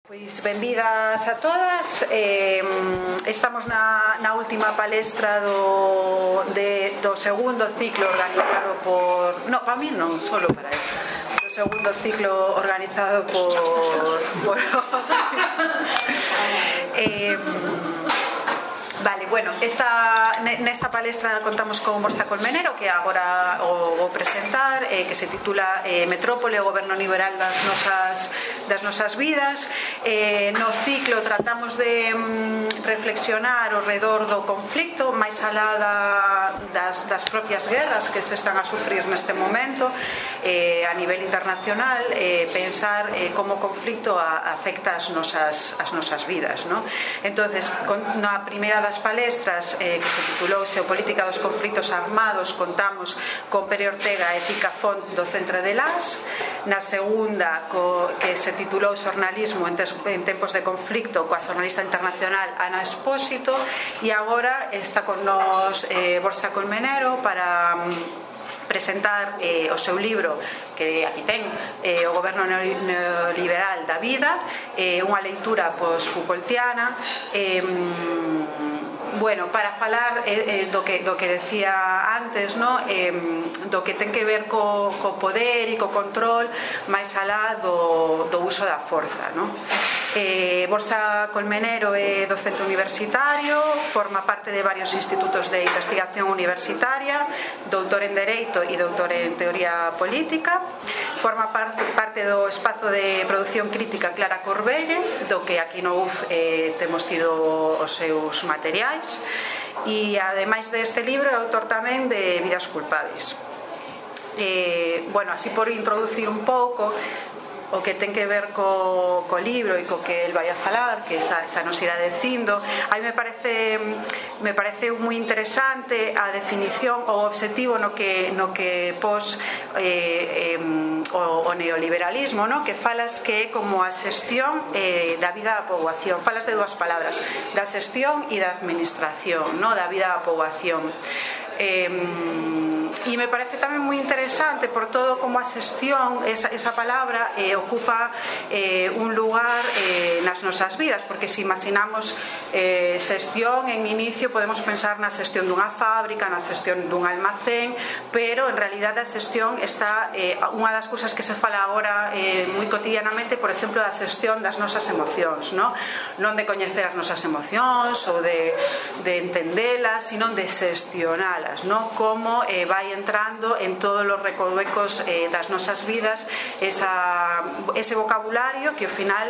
Pois benvidas a todas. Estamos na última palestra do segundo ciclo organizado por... No, para mí non, solo para él. Do segundo ciclo organizado por Vale, bueno, nesta palestra contamos con Borja Colmenero, que agora o vou presentar, que se titula Metrópole, o goberno liberal das nosas vidas. No ciclo tratamos de reflexionar ao redor do conflicto, máis alá das propias guerras que se están a sufrir neste momento a nivel internacional, pensar como o conflicto afecta as nosas vidas, ¿no? Entonces, na primeira das palestras, que se titulou Xeopolítica dos conflictos armados, contamos con Pere Ortega e Tica Font do Centre de Las. Na segunda, que se titulou Xornalismo en tempos de conflicto, coa xornalista internacional Ana Espósito. E agora está con nos Borja Colmenero para presentar o seu libro, que aquí ten, O goberno neoliberal da vida, unha leitura post-Foucaultiana. Bueno, para falar do que decía antes, ¿no? Do que ten que ver co poder e co control máis alá do uso da forza, ¿no? Borja Colmenero é docente universitario, forma parte de varios institutos de investigación universitaria, doutor en Dereito e doutor en Teoría Política. Forma parte do espazo de produción crítica Clara Corbelle, do que aquí no UF temos tido os seus materiais. E ademais deste libro é autor tamén de Vidas culpábeis. Bueno, así por introducir un pouco o que ten que ver co libro e co que el vai a falar, que xa nos irá dicindo. A mí me parece moi interesante a definición ou o obxectivo no que pos o neoliberalismo, no? Que falas que é como a xestión da vida da poboación. Falas de dúas palabras, da xestión e da administración, no? Da vida da poboación. E me parece tamén moi interesante por todo como a xestión, esa palabra ocupa un lugar nas nosas vidas, porque se imaginamos xestión en inicio podemos pensar na xestión dunha fábrica, na xestión dun almacén, pero en realidad a xestión está unha das cousas que se fala agora moi cotidianamente, por exemplo, da xestión das nosas emocións, non de coñecer as nosas emocións ou de entendelas, sino de xestionalas, como vai entrando en todos os recovecos das nosas vidas ese vocabulario que ao final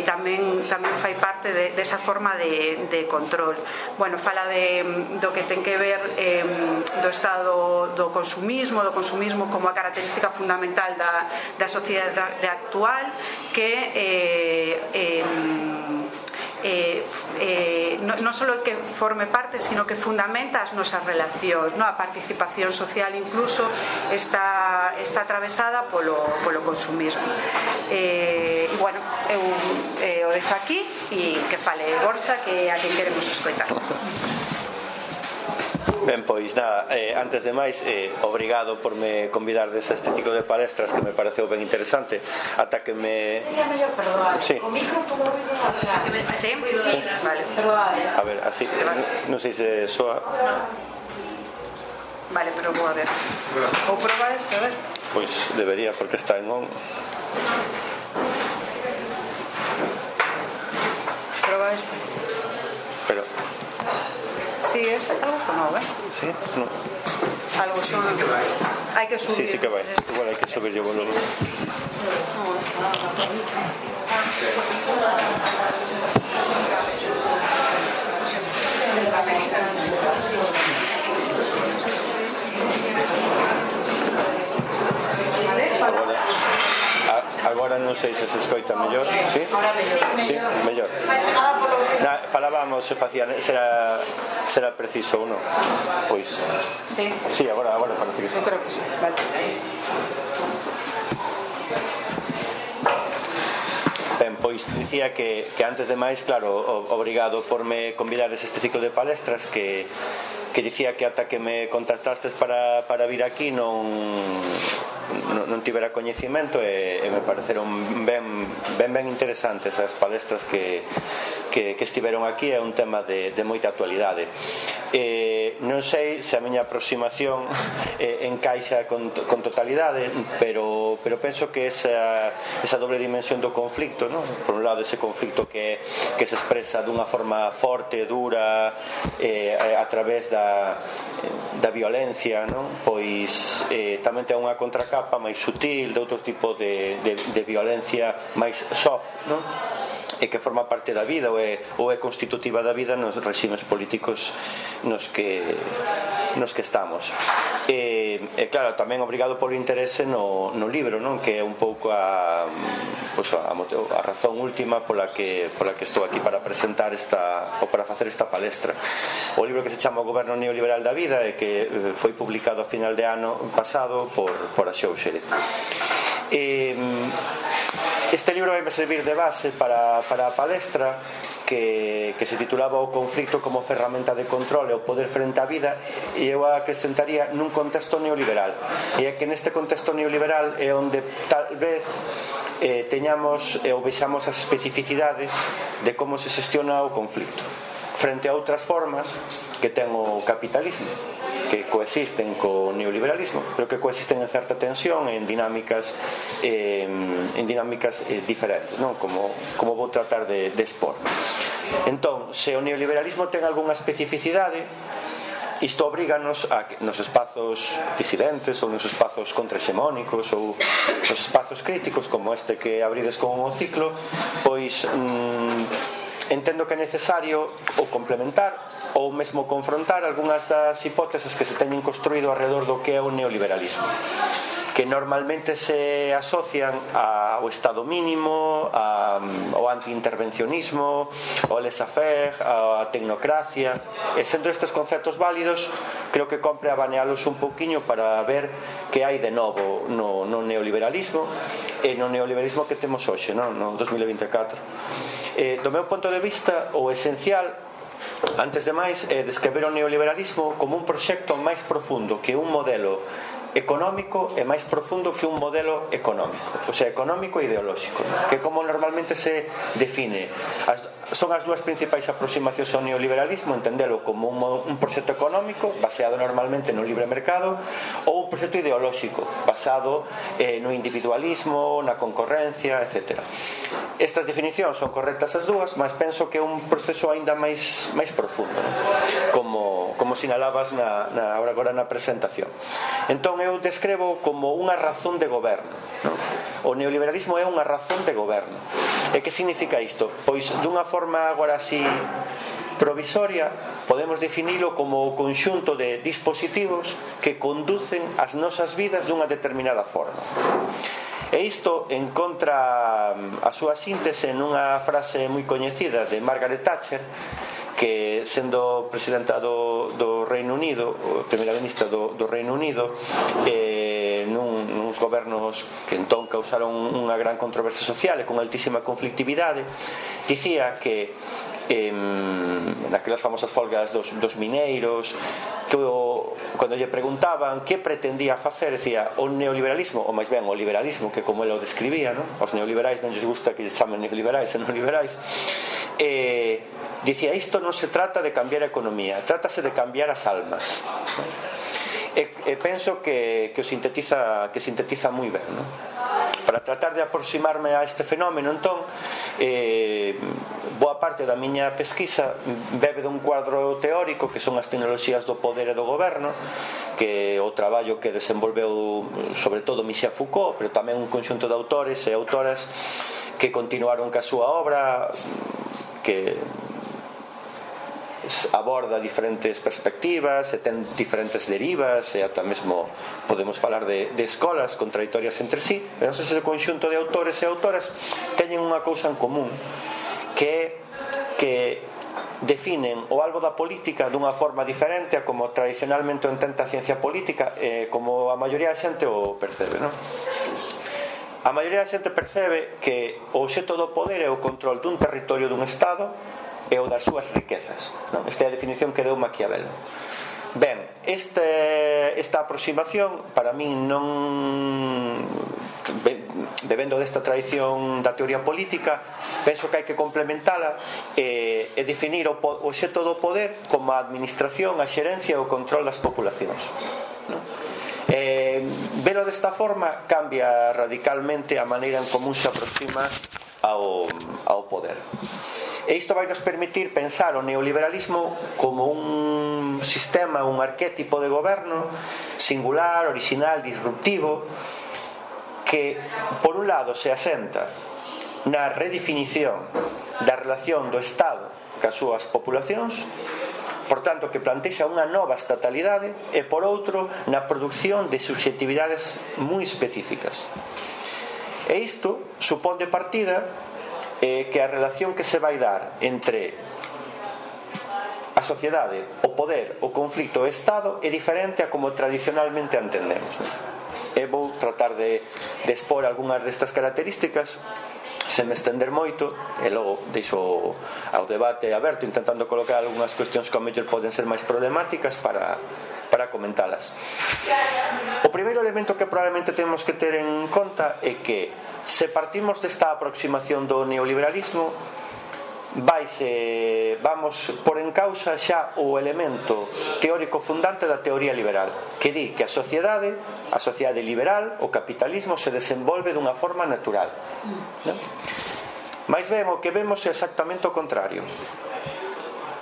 tamén fai parte desa forma de control. Bueno, fala do que ten que ver do estado do consumismo como a característica fundamental da sociedade actual, que non só que forme parte, sino que fundamenta as nosas relacións, a participación social incluso está atravesada polo consumismo. E bueno, eu o deixo aquí e que fale Borja, que a quen queremos escoitar. Ben, pois nada, antes de máis, obrigado por me convidardes a este ciclo de palestras que me pareceu ben interesante. Ata que me... Sería mellor perdoar. Sí. O micro polo ruido atrás. Sí? Vale. Perdoar. A ver, así, non sei se soa... Vale, pero vou a ver. Vou probar isto, a ver. Pois debería, porque está en on. Proba este. Pero... Sí, es algo sonado, ¿eh? Sí, no. Algo sonado. Hai que subir. Sí que vai. Igual hai que subir yo volumen. Agora non sei se se escoita mellor. Sí? Sí, mellor. Falábamos se facía, será preciso ou non? Pois. Sí. Sí, agora parece que sí. Eu creo que sí. Vale. Ben, pois dicía que antes de máis, claro, obrigado por me convidares este ciclo de palestras que dicía que ata que me contactastes para vir aquí non non tivera coñecimento e me pareceron ben interesantes as palestras que estiveron aquí. É un tema de moita actualidade. Non sei se a miña aproximación encaixa con totalidade, pero penso que esa doble dimensión do conflicto, ¿no? Por un lado ese conflicto que se expresa dunha forma forte, dura, a través da violencia, ¿no? Pois tamén ten unha contracapa máis sutil de outro tipo de violencia máis soft, ¿no? E que forma parte da vida ou é constitutiva da vida nos regimes políticos nos que estamos. E claro, tamén obrigado polo interese no libro, non? Que é un pouco a razón última pola que estou aquí para presentar ou para facer esta palestra. O libro que se chama O Goberno Neoliberal da Vida e que foi publicado a final de ano pasado por a Xóuxere. Este libro vai me servir de base para a palestra que se titulaba O conflicto como ferramenta de control e o poder frente á vida, e eu acrescentaría nun contexto neoliberal. E é que neste contexto neoliberal é onde tal vez teñamos ou vexamos as especificidades de como se xestiona o conflicto frente a outras formas que ten o capitalismo, que coexisten co neoliberalismo, pero que coexisten en certa tensión en dinámicas diferentes, non? Como vou tratar de expor. Entón, se o neoliberalismo ten algunha especificidade, isto obriganos a que nos espazos disidentes ou nos espazos contrahexemónicos ou nos espazos críticos como este que abrides con o ciclo, pois entendo que é necesario ou complementar ou mesmo confrontar algunhas das hipóteses que se teñen construído alrededor do que é o neoliberalismo, que normalmente se asocian ao Estado mínimo, ao antiintervencionismo, ao laissez-faire, á tecnocracia. E sendo estes conceptos válidos, creo que compre abanealos un pouquiño para ver que hai de novo no neoliberalismo e no neoliberalismo que temos hoxe, no 2024. Do meu ponto de vista, o esencial, antes de máis, é descrever o neoliberalismo como un proxecto máis profundo que un modelo económico e máis profundo que un modelo económico, o sea, económico e ideolóxico, que como normalmente se define. Son as dúas principais aproximacións ao neoliberalismo, entendelo como un proxecto económico baseado normalmente no libre mercado ou un proxecto ideolóxico basado no individualismo, na concorrencia, etc. Estas definicións son correctas as dúas, mas penso que é un proceso aínda máis profundo, ¿no? como sinalabas agora na presentación. Entón eu descrevo como unha razón de goberno, ¿no? O neoliberalismo é unha razón de goberno. E que significa isto? Pois dunha forma agora así provisoria podemos definilo como o conxunto de dispositivos que conducen as nosas vidas dunha determinada forma. E isto encontra a súa síntese nunha frase moi coñecida de Margaret Thatcher, que sendo presidenta do Reino Unido, primeira ministra do Reino Unido, nuns gobernos que entón causaron unha gran controversia social e con altísima conflictividade, dicía que naquelas famosas folgas dos mineiros, que cando lle preguntaban que pretendía facer, decía o neoliberalismo, ou máis ben o liberalismo, que como ela o describía, ¿no? Os neoliberais non lles gusta que lles chamen neoliberais e non liberais, dicía, isto non se trata de cambiar a economía, trátase de cambiar as almas. E penso que sintetiza moi ben, ¿no? Para tratar de aproximarme a este fenómeno, entón, boa parte da miña pesquisa bebe dun cuadro teórico que son as tecnoloxías do poder e do goberno, que o traballo que desenvolveu sobre todo Michel Foucault, pero tamén un conxunto de autores e autoras que continuaron ca súa obra, que aborda diferentes perspectivas e ten diferentes derivas, e ata mesmo podemos falar de escolas contradictorias entre sí. Pero ese conxunto de autores e autoras teñen unha cousa en común, que definen o algo da política dunha forma diferente a como tradicionalmente o entende a ciencia política, como a maioría da xente o percebe, non? A maioría da xente percebe que o obxecto do poder é o control dun territorio dun Estado e o das súas riquezas, non? Esta é a definición que deu Maquiavelo. Ben, esta aproximación para min non, debendo desta tradición da teoría política, penso que hai que complementala e definir o obxecto do poder como a administración, a xerencia e o control das populacións, non? Velo desta forma cambia radicalmente a maneira en común se aproxima ao poder. E isto vai nos permitir pensar o neoliberalismo como un sistema, un arquétipo de goberno singular, original, disruptivo, que por un lado se asenta na redefinición da relación do Estado cas súas populacións, por tanto que plantexa unha nova estatalidade, e por outro na produción de subxectividades moi específicas. E isto supón de partida que a relación que se vai dar entre a sociedade, o poder, o conflito e o Estado é diferente a como tradicionalmente a entendemos. E vou tratar de expor algunhas destas características sen me estender moito, e logo deixo ao debate aberto, intentando colocar algunhas cuestións que ao mellor poden ser máis problemáticas para comentalas. O primeiro elemento que probablemente temos que ter en conta é que se partimos desta aproximación do neoliberalismo, vamos por en causa xa o elemento teórico fundante da teoría liberal, que di que a sociedade liberal, o capitalismo, se desenvolve dunha forma natural, non? Mais ben, o que vemos é exactamente o contrario.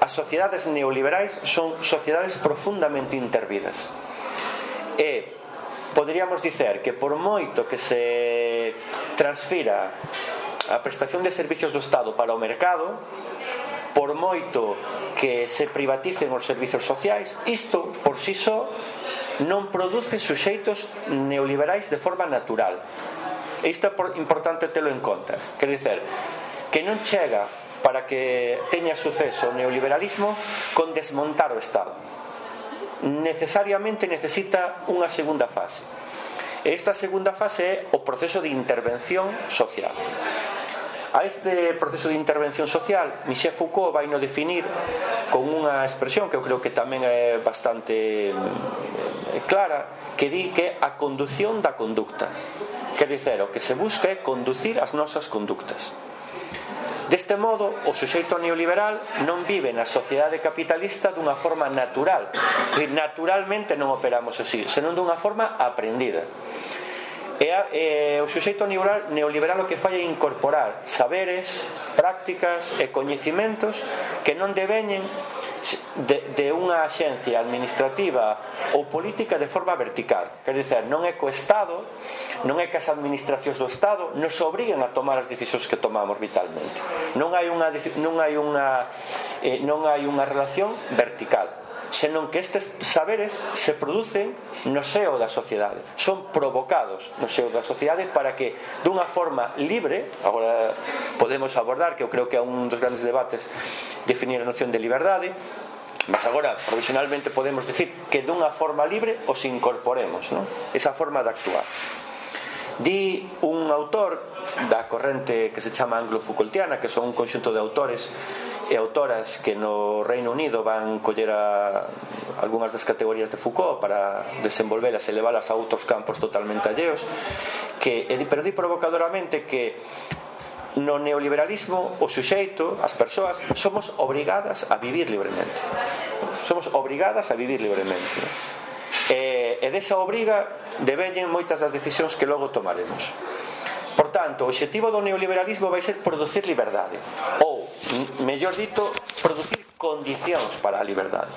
As sociedades neoliberais son sociedades profundamente intervidas, e poderíamos dicer que por moito que se transfira a prestación de servicios do Estado para o mercado, por moito que se privaticen os servicios sociais, isto por si só non produce suxeitos neoliberais de forma natural. E isto é importante telo en conta. Quer dizer, que non chega para que teña suceso o neoliberalismo con desmontar o Estado. Necesariamente necesita unha segunda fase. E esta segunda fase é o proceso de intervención social. A este proceso de intervención social, Michel Foucault vai no definir con unha expresión que eu creo que tamén é bastante clara, que di que é a condución da conducta. Quer dizer, o que se busca é conducir as nosas conductas. Deste modo, o suxeito neoliberal non vive na sociedade capitalista dunha forma natural, que naturalmente non operamos así, senón dunha forma aprendida. E o suxeito neoliberal o que fai é incorporar saberes, prácticas e coñecimentos que non deveñen de unha axencia administrativa ou política de forma vertical. Quer dizer, non é co Estado, non é que as administracións do Estado nos obriguen a tomar as decisións que tomamos vitalmente. Non hai unha relación vertical, senón que estes saberes se producen no seo da sociedade, son provocados no seo da sociedade para que dunha forma libre, agora podemos abordar, que eu creo que é un dos grandes debates, definir a noción de liberdade, mas agora provisionalmente podemos decir que dunha forma libre os incorporemos, non? Esa forma de actuar. Di un autor da corrente que se chama anglo-Foucaultiana, que son un conxunto de autores e autoras que no Reino Unido van coller algunhas das categorías de Foucault para desenvolvelas e leválas a outros campos totalmente alleos, pero di provocadoramente que no neoliberalismo o suxeito, as persoas, somos obrigadas a vivir libremente. Somos obrigadas a vivir libremente. E desa obriga deveñen moitas das decisións que logo tomaremos. Por tanto, o obxectivo do neoliberalismo vai ser producir liberdade, ou, mellor dito, producir condicións para a liberdade.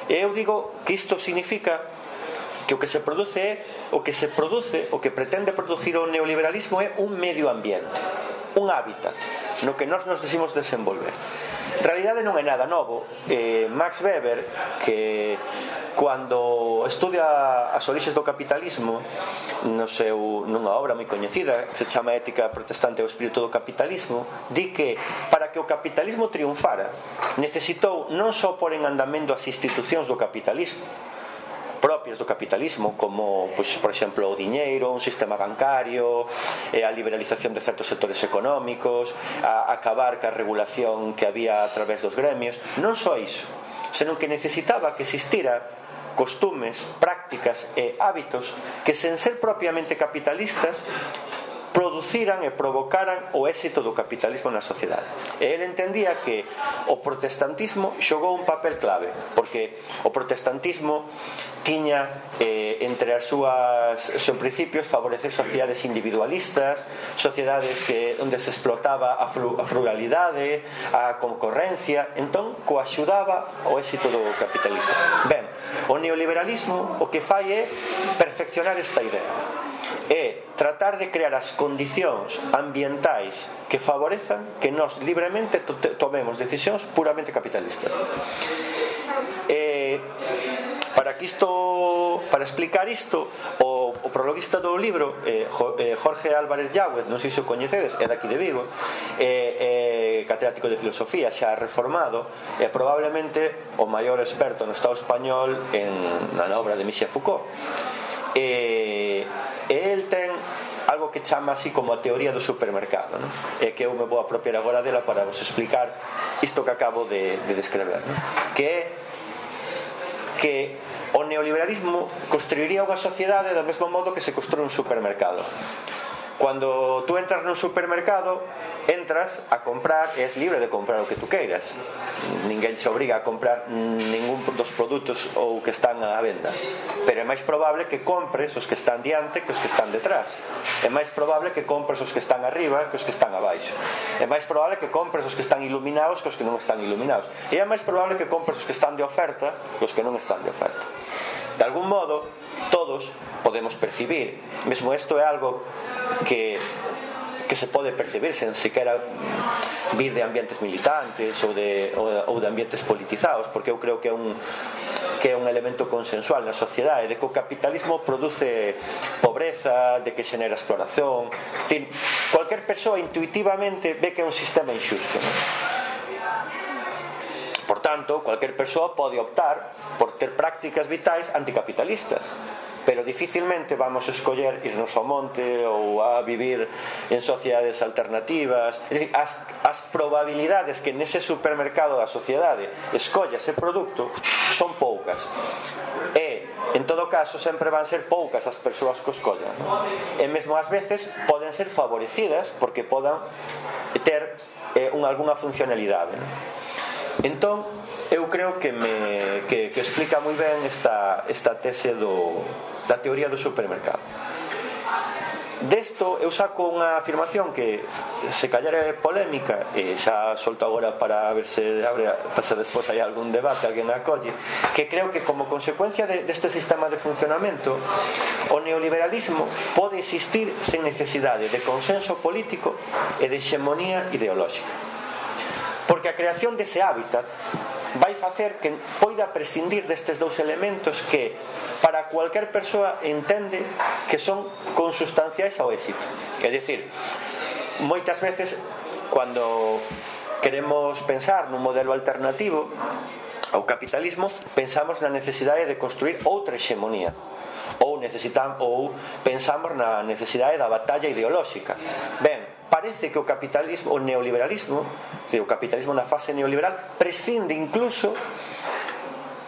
E eu digo que isto significa que o que se produce, o que pretende producir o neoliberalismo é un medio ambiente, un hábitat no que nós nos decimos desenvolver. En realidade non é nada novo. Max Weber, que cando estudia as orixes do capitalismo nunha obra moi coñecida que se chama Ética Protestante e o Espírito do Capitalismo, di que para que o capitalismo triunfara necesitou non só pôr en andamento as institucións do capitalismo propias do capitalismo, como, por exemplo, o diñeiro, un sistema bancario, a liberalización de certos sectores económicos, a acabar ca regulación que había a través dos gremios. Non só iso, senón que necesitaba que existira costumes, prácticas e hábitos que, sen ser propiamente capitalistas, produciran e provocaran o éxito do capitalismo na sociedade. E ele entendía que o protestantismo xogou un papel clave, porque o protestantismo tiña entre os seus principios favorecer sociedades individualistas, sociedades onde se explotaba a frugalidade, a concorrencia, entón coaxudaba o éxito do capitalismo. Ben, o neoliberalismo o que fai é perfeccionar esta idea, é tratar de crear as condicións ambientais que favorezan que nós libremente tomemos decisións puramente capitalistas. Para explicar isto, o prologuista do libro, Jorge Álvarez Yáguez, non sei se o coñecedes, é daqui de Vigo, catedrático de filosofía, xa reformado, é probablemente o maior experto no Estado español na obra de Michel Foucault. E el ten algo que chama así como a teoría do supermercado, non? E que eu me vou apropiar agora dela para vos explicar isto que acabo de descrever, non? Que é que o neoliberalismo construiría unha sociedade do mesmo modo que se construe un supermercado. Cando tú entras nun supermercado, entras a comprar e és libre de comprar o que tú queiras. Ninguén te obriga a comprar ningún dos produtos ou que están á venda, pero é máis probable que compres os que están diante que os que están detrás. É máis probable que compres os que están arriba que os que están abaixo. É máis probable que compres os que están iluminados que os que non están iluminados. E é máis probable que compres os que están de oferta que os que non están de oferta. De algún modo, todos podemos percibir, mesmo isto é algo que se pode percibir sen sequera vir de ambientes militantes ou de ambientes politizados, porque eu creo que é un elemento consensual na sociedade, de que o capitalismo produce pobreza, de que xenera exploración. En fin, cualquier persoa intuitivamente ve que é un sistema injusto, non? Por tanto, cualquier persoa pode optar por ter prácticas vitais anticapitalistas, pero dificilmente vamos a escoller irnos ao monte ou a vivir en sociedades alternativas. É dicir, as probabilidades que nese supermercado da sociedade escolla ese produto son poucas, e en todo caso sempre van ser poucas as persoas que o escollan, non? E mesmo ás veces poden ser favorecidas porque podan ter algunha funcionalidade, non? Entón, eu creo que explica moi ben esta tese da teoría do supermercado. Desto eu saco unha afirmación que se callar é polémica, e xa solto agora para ver se despois hai algún debate, alguén acolle, que creo que como consecuencia deste sistema de funcionamento, o neoliberalismo pode existir sen necesidade de consenso político e de hexemonía ideolóxica, porque a creación dese hábitat vai facer que poida prescindir destes dous elementos que para cualquier persoa entende que son consustanciais ao éxito. É dicir, moitas veces cando queremos pensar nun modelo alternativo ao capitalismo, pensamos na necesidade de construir outra hexemonía, ou pensamos na necesidade da batalla ideolóxica. Ben, parece que o capitalismo, o neoliberalismo, o capitalismo na fase neoliberal prescinde incluso,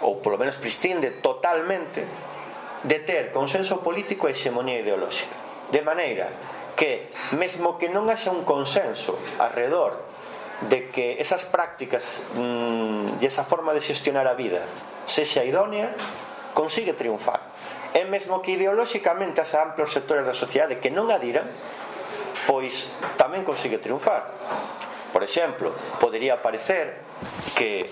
ou polo menos prescinde totalmente, de ter consenso político e hexemonía ideolóxica, de maneira que mesmo que non haxa un consenso alrededor de que esas prácticas e esa forma de xestionar a vida sexa idónea, consigue triunfar. E mesmo que ideolóxicamente haxa amplios sectores da sociedade que non adiran, pois tamén consigue triunfar. Por exemplo, podería parecer que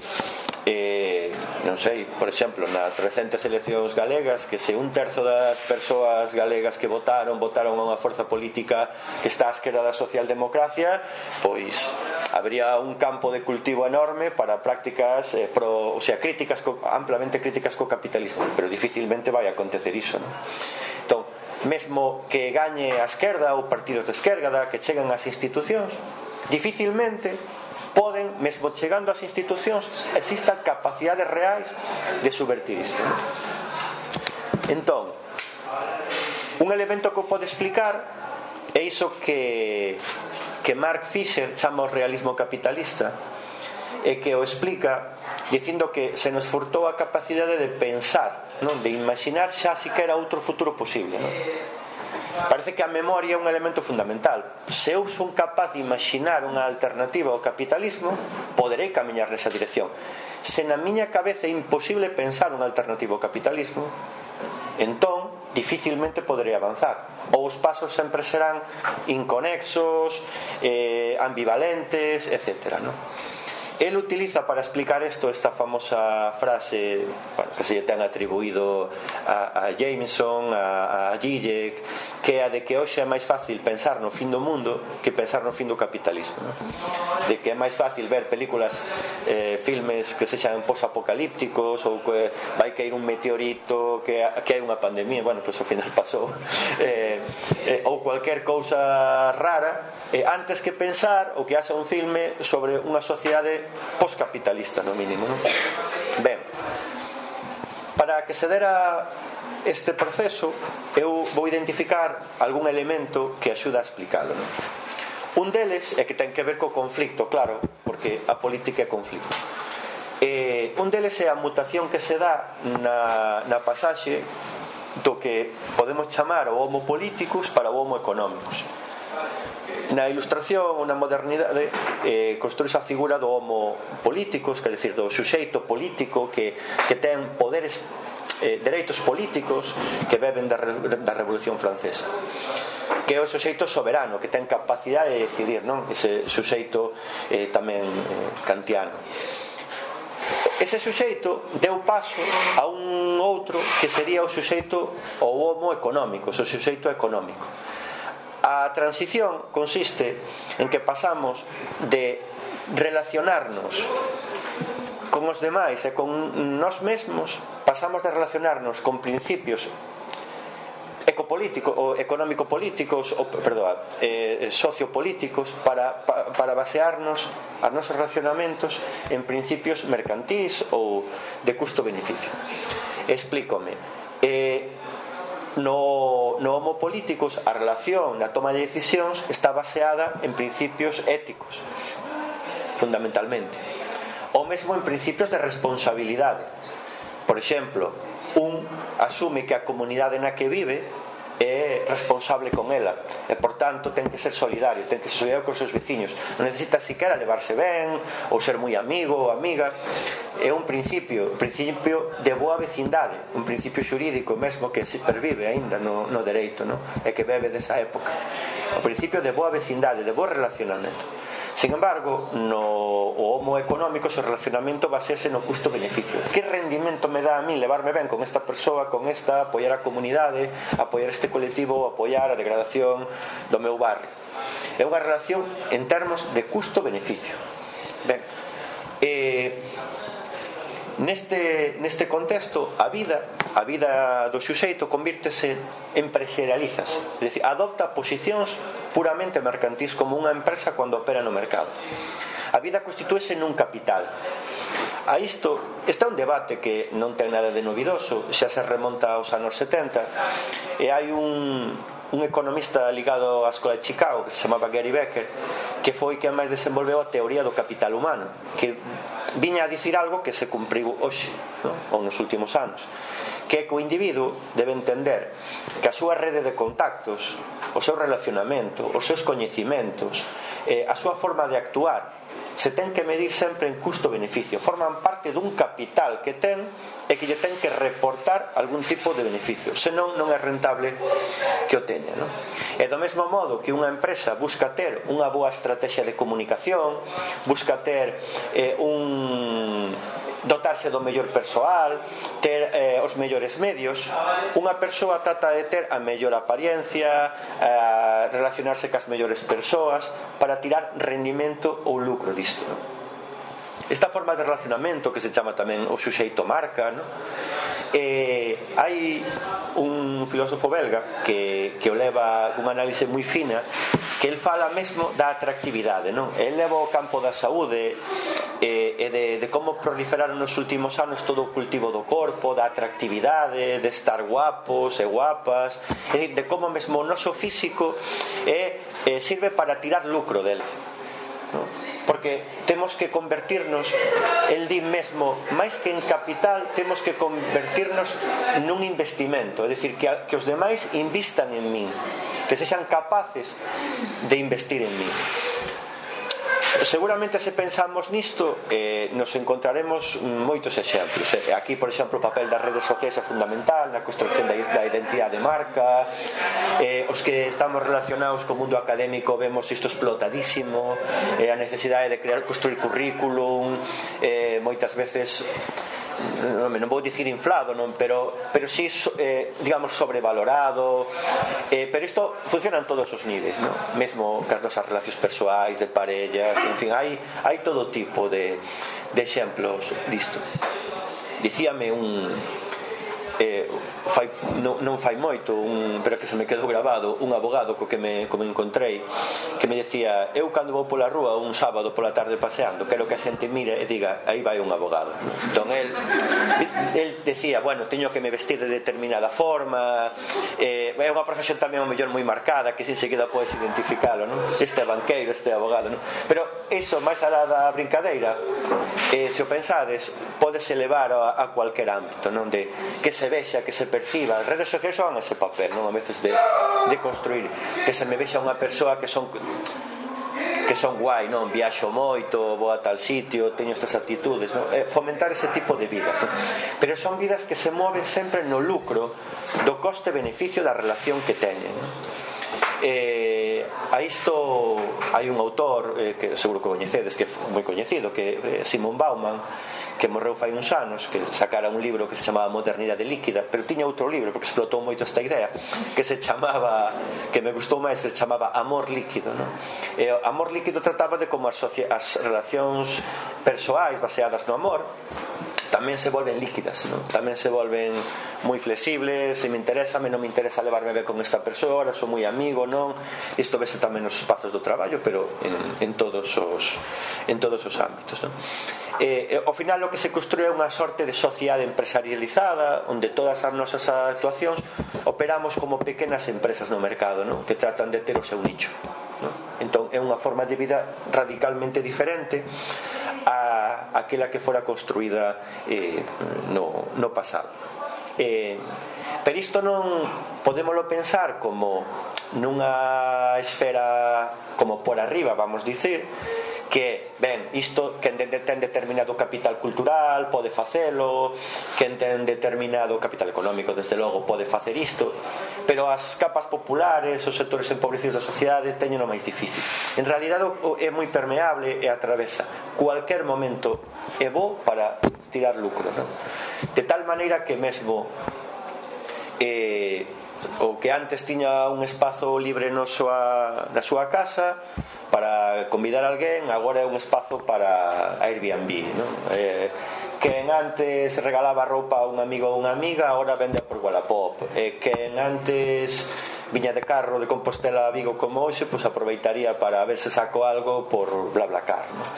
non sei, por exemplo, nas recentes eleccións galegas, que se un terzo das persoas galegas que votaron a unha forza política que está á esquerda da socialdemocracia, pois habría un campo de cultivo enorme para prácticas amplamente críticas co capitalismo, pero dificilmente vai acontecer iso, non? Entón, mesmo que gañe a esquerda ou partidos de esquerda que cheguen ás institucións, dificilmente poden, mesmo chegando ás institucións, existan capacidades reais de subvertir isto. Entón, un elemento que pode explicar é iso que Mark Fisher chama o realismo capitalista, e que o explica dicindo que se nos furtou a capacidade de pensar, non? De imaginar xa siquera outro futuro posible, non? Parece que a memoria é un elemento fundamental. Se eu son capaz de imaginar unha alternativa ao capitalismo, poderei camiñar nesa dirección. Se na miña cabeza é imposible pensar unha alternativa ao capitalismo, entón dificilmente poderei avanzar, ou os pasos sempre serán inconexos, ambivalentes, etc., non? El utiliza para explicar esta famosa frase, bueno, que se lle ten atribuído a Jameson, a Zizek, que é a de que hoxe é máis fácil pensar no fin do mundo que pensar no fin do capitalismo, ¿no? De que é máis fácil ver películas, filmes que sexan posapocalípticos, ou que vai caer un meteorito, que hai unha pandemia, bueno, pois ao final pasou, ou cualquier cousa rara, antes que pensar ou que haxa un filme sobre unha sociedade postcapitalista, no mínimo, non? Ben, para que se dera este proceso, eu vou identificar algún elemento que axuda a explicalo, non? Un deles é que ten que ver co conflicto, claro, porque a política é conflicto. Un deles é a mutación que se dá na pasaxe do que podemos chamar o homo politicus para o homo económicos. Na ilustración ou na modernidade construíse a figura do homo políticos, quer decir, do suxeito político que ten poderes, dereitos políticos que beben da Revolución Francesa, que é o suxeito soberano, que ten capacidade de decidir, non? Ese suxeito tamén kantiano. Ese suxeito deu paso a un outro que sería o suxeito ou homo económico, o suxeito económico. A transición consiste en que pasamos de relacionarnos con os demais e con nós mesmos, pasamos de relacionarnos con principios ecopolíticos ou económico-políticos, ou, sociopolíticos, para basearnos os nosos relacionamentos en principios mercantís ou de custo-beneficio. Explícome. No homo políticos, a relación na toma de decisións está baseada en principios éticos, fundamentalmente, ou mesmo en principios de responsabilidade. Por exemplo, un asume que a comunidade na que vive é responsable con ela e, por tanto, ten que ser solidario, ten que ser solidario con os seus veciños, non necesita siquiera levarse ben ou ser moi amigo ou amiga. É un principio de boa vecindade, un principio xurídico mesmo que se pervive aínda no dereito, non? E que bebe desa época, o principio de boa vecindade, de bo relacionamento. Sin embargo, o homo económico, o relacionamento basease no custo-beneficio. Que rendimento me dá a mí levarme ben con esta persoa, con esta, apoiar a comunidade, apoiar este colectivo, apoiar a degradación do meu barrio? É unha relación en termos de custo-beneficio. Ben, neste contexto, a vida do suxeito convírtese, empresarialízase, é dicir, adopta posicións puramente mercantís como unha empresa cando opera no mercado. A vida constitúese nun capital. A isto, este é un debate que non ten nada de novidoso, xa se remonta aos anos 70, e hai un economista ligado á Escola de Chicago que se chamaba Gary Becker, que foi quen máis desenvolveu a teoría do capital humano, que viña a dicir algo que se cumpriu hoxe, non? Ou nos últimos anos, que o individuo debe entender que a súa rede de contactos, o seu relacionamento, os seus coñecimentos, a súa forma de actuar se ten que medir sempre en custo-beneficio, forman parte dun capital que ten e que lle ten que reportar algún tipo de beneficio, senón non é rentable que o teña, non? E do mesmo modo que unha empresa busca ter unha boa estrategia de comunicación, busca ter dotarse do mellor persoal, ter os mellores medios, unha persoa trata de ter a mellor apariencia, relacionarse cas mellores persoas para tirar rendimento ou lucro disto, non? Esta forma de relacionamento que se chama tamén o suxeito marca, non? Hai un filósofo belga que o leva unha análise moi fina, que el fala mesmo da atractividade, non? El leva o campo da saúde e de como proliferaron nos últimos anos todo o cultivo do corpo, da atractividade, de estar guapos e guapas, é dicir, de como mesmo o noso físico sirve para tirar lucro dele, non? porque temos que convertirnos, el di mesmo, máis que en capital, temos que convertirnos nun investimento, é dicir, que os demais investan en min, que sexan capaces de investir en min. Seguramente se pensamos nisto nos encontraremos moitos exemplos. Aquí, por exemplo, o papel das redes sociais é fundamental na construcción da identidade de marca. Os que estamos relacionados co mundo académico vemos isto explotadísimo, a necesidade de construir currículum, moitas veces non vou dicir inflado, non, pero sí, digamos, sobrevalorado, pero isto funciona en todos os niveis, non? Mesmo cas nosas relacións persoais, de parellas, en fin, hai todo tipo de exemplos disto. Dicíame non fai moito, pero que se me quedou grabado, un abogado co que me encontrei, que me decía: eu cando vou pola rúa un sábado pola tarde paseando, quero que a xente mire e diga: aí vai un abogado. Entón el decía: bueno, teño que me vestir de determinada forma, é unha profesión tamén ao mellor moi marcada, que enseguida podes identificalo, non? Este é banqueiro, este é abogado, non? Pero iso, máis alá da brincadeira, se o pensades, podes elevar a cualquier ámbito, non? De que se vexa, que se perciba. As redes sociais son ese papel, non? A veces de construir, que se me vexa unha persoa que son guai, non? Viaxo moito, vou a tal sitio, teño estas actitudes, non? Fomentar ese tipo de vidas, non? Pero son vidas que se moven sempre no lucro do coste-beneficio da relación que teñen, non? A isto hai un autor que seguro que coñecedes, que é moi coñecido, que é Simon Bauman, que morreu fai uns anos, que sacara un libro que se chamaba Modernidade Líquida, pero tiña outro libro, porque explotou moito esta idea, que se chamaba, que me gustou máis, que se chamaba Amor Líquido, non? Amor Líquido trataba de como as relacións persoais baseadas no amor tamén se volven líquidas, non? Tamén se volven moi flexibles. Se me interesa, non me interesa levarme ben con esta persoa, son moi amigo, non? Isto vese tamén nos espazos do traballo, pero en todos os ámbitos, non? Ao final o que se construe é unha sorte de sociedade empresarializada, onde todas as nosas actuacións operamos como pequenas empresas no mercado, non? Que tratan de ter o seu nicho, non? Entón é unha forma de vida radicalmente diferente a aquela que fora construída no pasado. Pero isto non podémoslo pensar como nunha esfera como por arriba, vamos dicir, que, ben, isto, quen ten determinado capital cultural pode facelo, quen ten determinado capital económico, desde logo, pode facer isto, pero as capas populares, os sectores empobrecidos da sociedade teñen o máis difícil. En realidade é moi permeable e atravesa cualquier momento é bo para tirar lucro, non? De tal maneira que mesmo o que antes tiña un espazo libre na súa casa para convidar a alguén, agora é un espazo para Airbnb, non? Quen antes regalaba roupa a un amigo ou unha amiga, agora vende por Wallapop. Quen antes viña de carro de Compostela a Vigo como hoxe, pois aproveitaría para ver se saco algo por BlaBlaCar, non?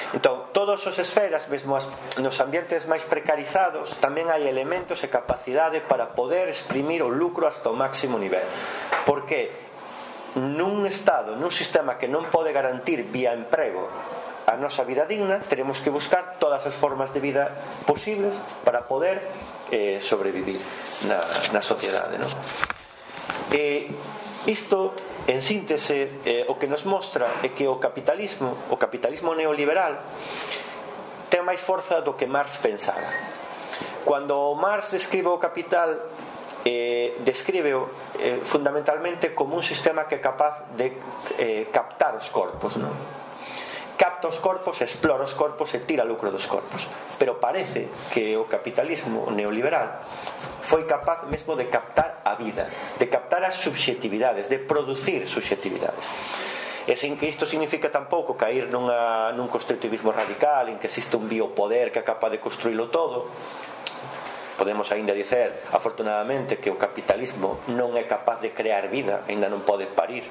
Entón, todas as esferas, mesmo nos ambientes máis precarizados, tamén hai elementos e capacidade para poder exprimir o lucro hasta o máximo nivel. Porque nun estado, nun sistema que non pode garantir vía emprego a nosa vida digna, teremos que buscar todas as formas de vida posibles para poder sobrevivir na sociedade, non? Isto, en síntese, o que nos mostra é que o capitalismo neoliberal ten máis forza do que Marx pensara. Cando Marx describe o capital, descríbeo fundamentalmente como un sistema que é capaz de captar os corpos, non? Capta os corpos, explora os corpos e tira lucro dos corpos. Pero parece que o capitalismo neoliberal foi capaz mesmo de captar a vida, de captar as subxetividades, de producir subxetividades. E sin que isto significa tampouco caer nun constructivismo radical en que existe un biopoder que é capaz de construílo todo. Podemos aínda dicer, afortunadamente, que o capitalismo non é capaz de crear vida, aínda non pode parir,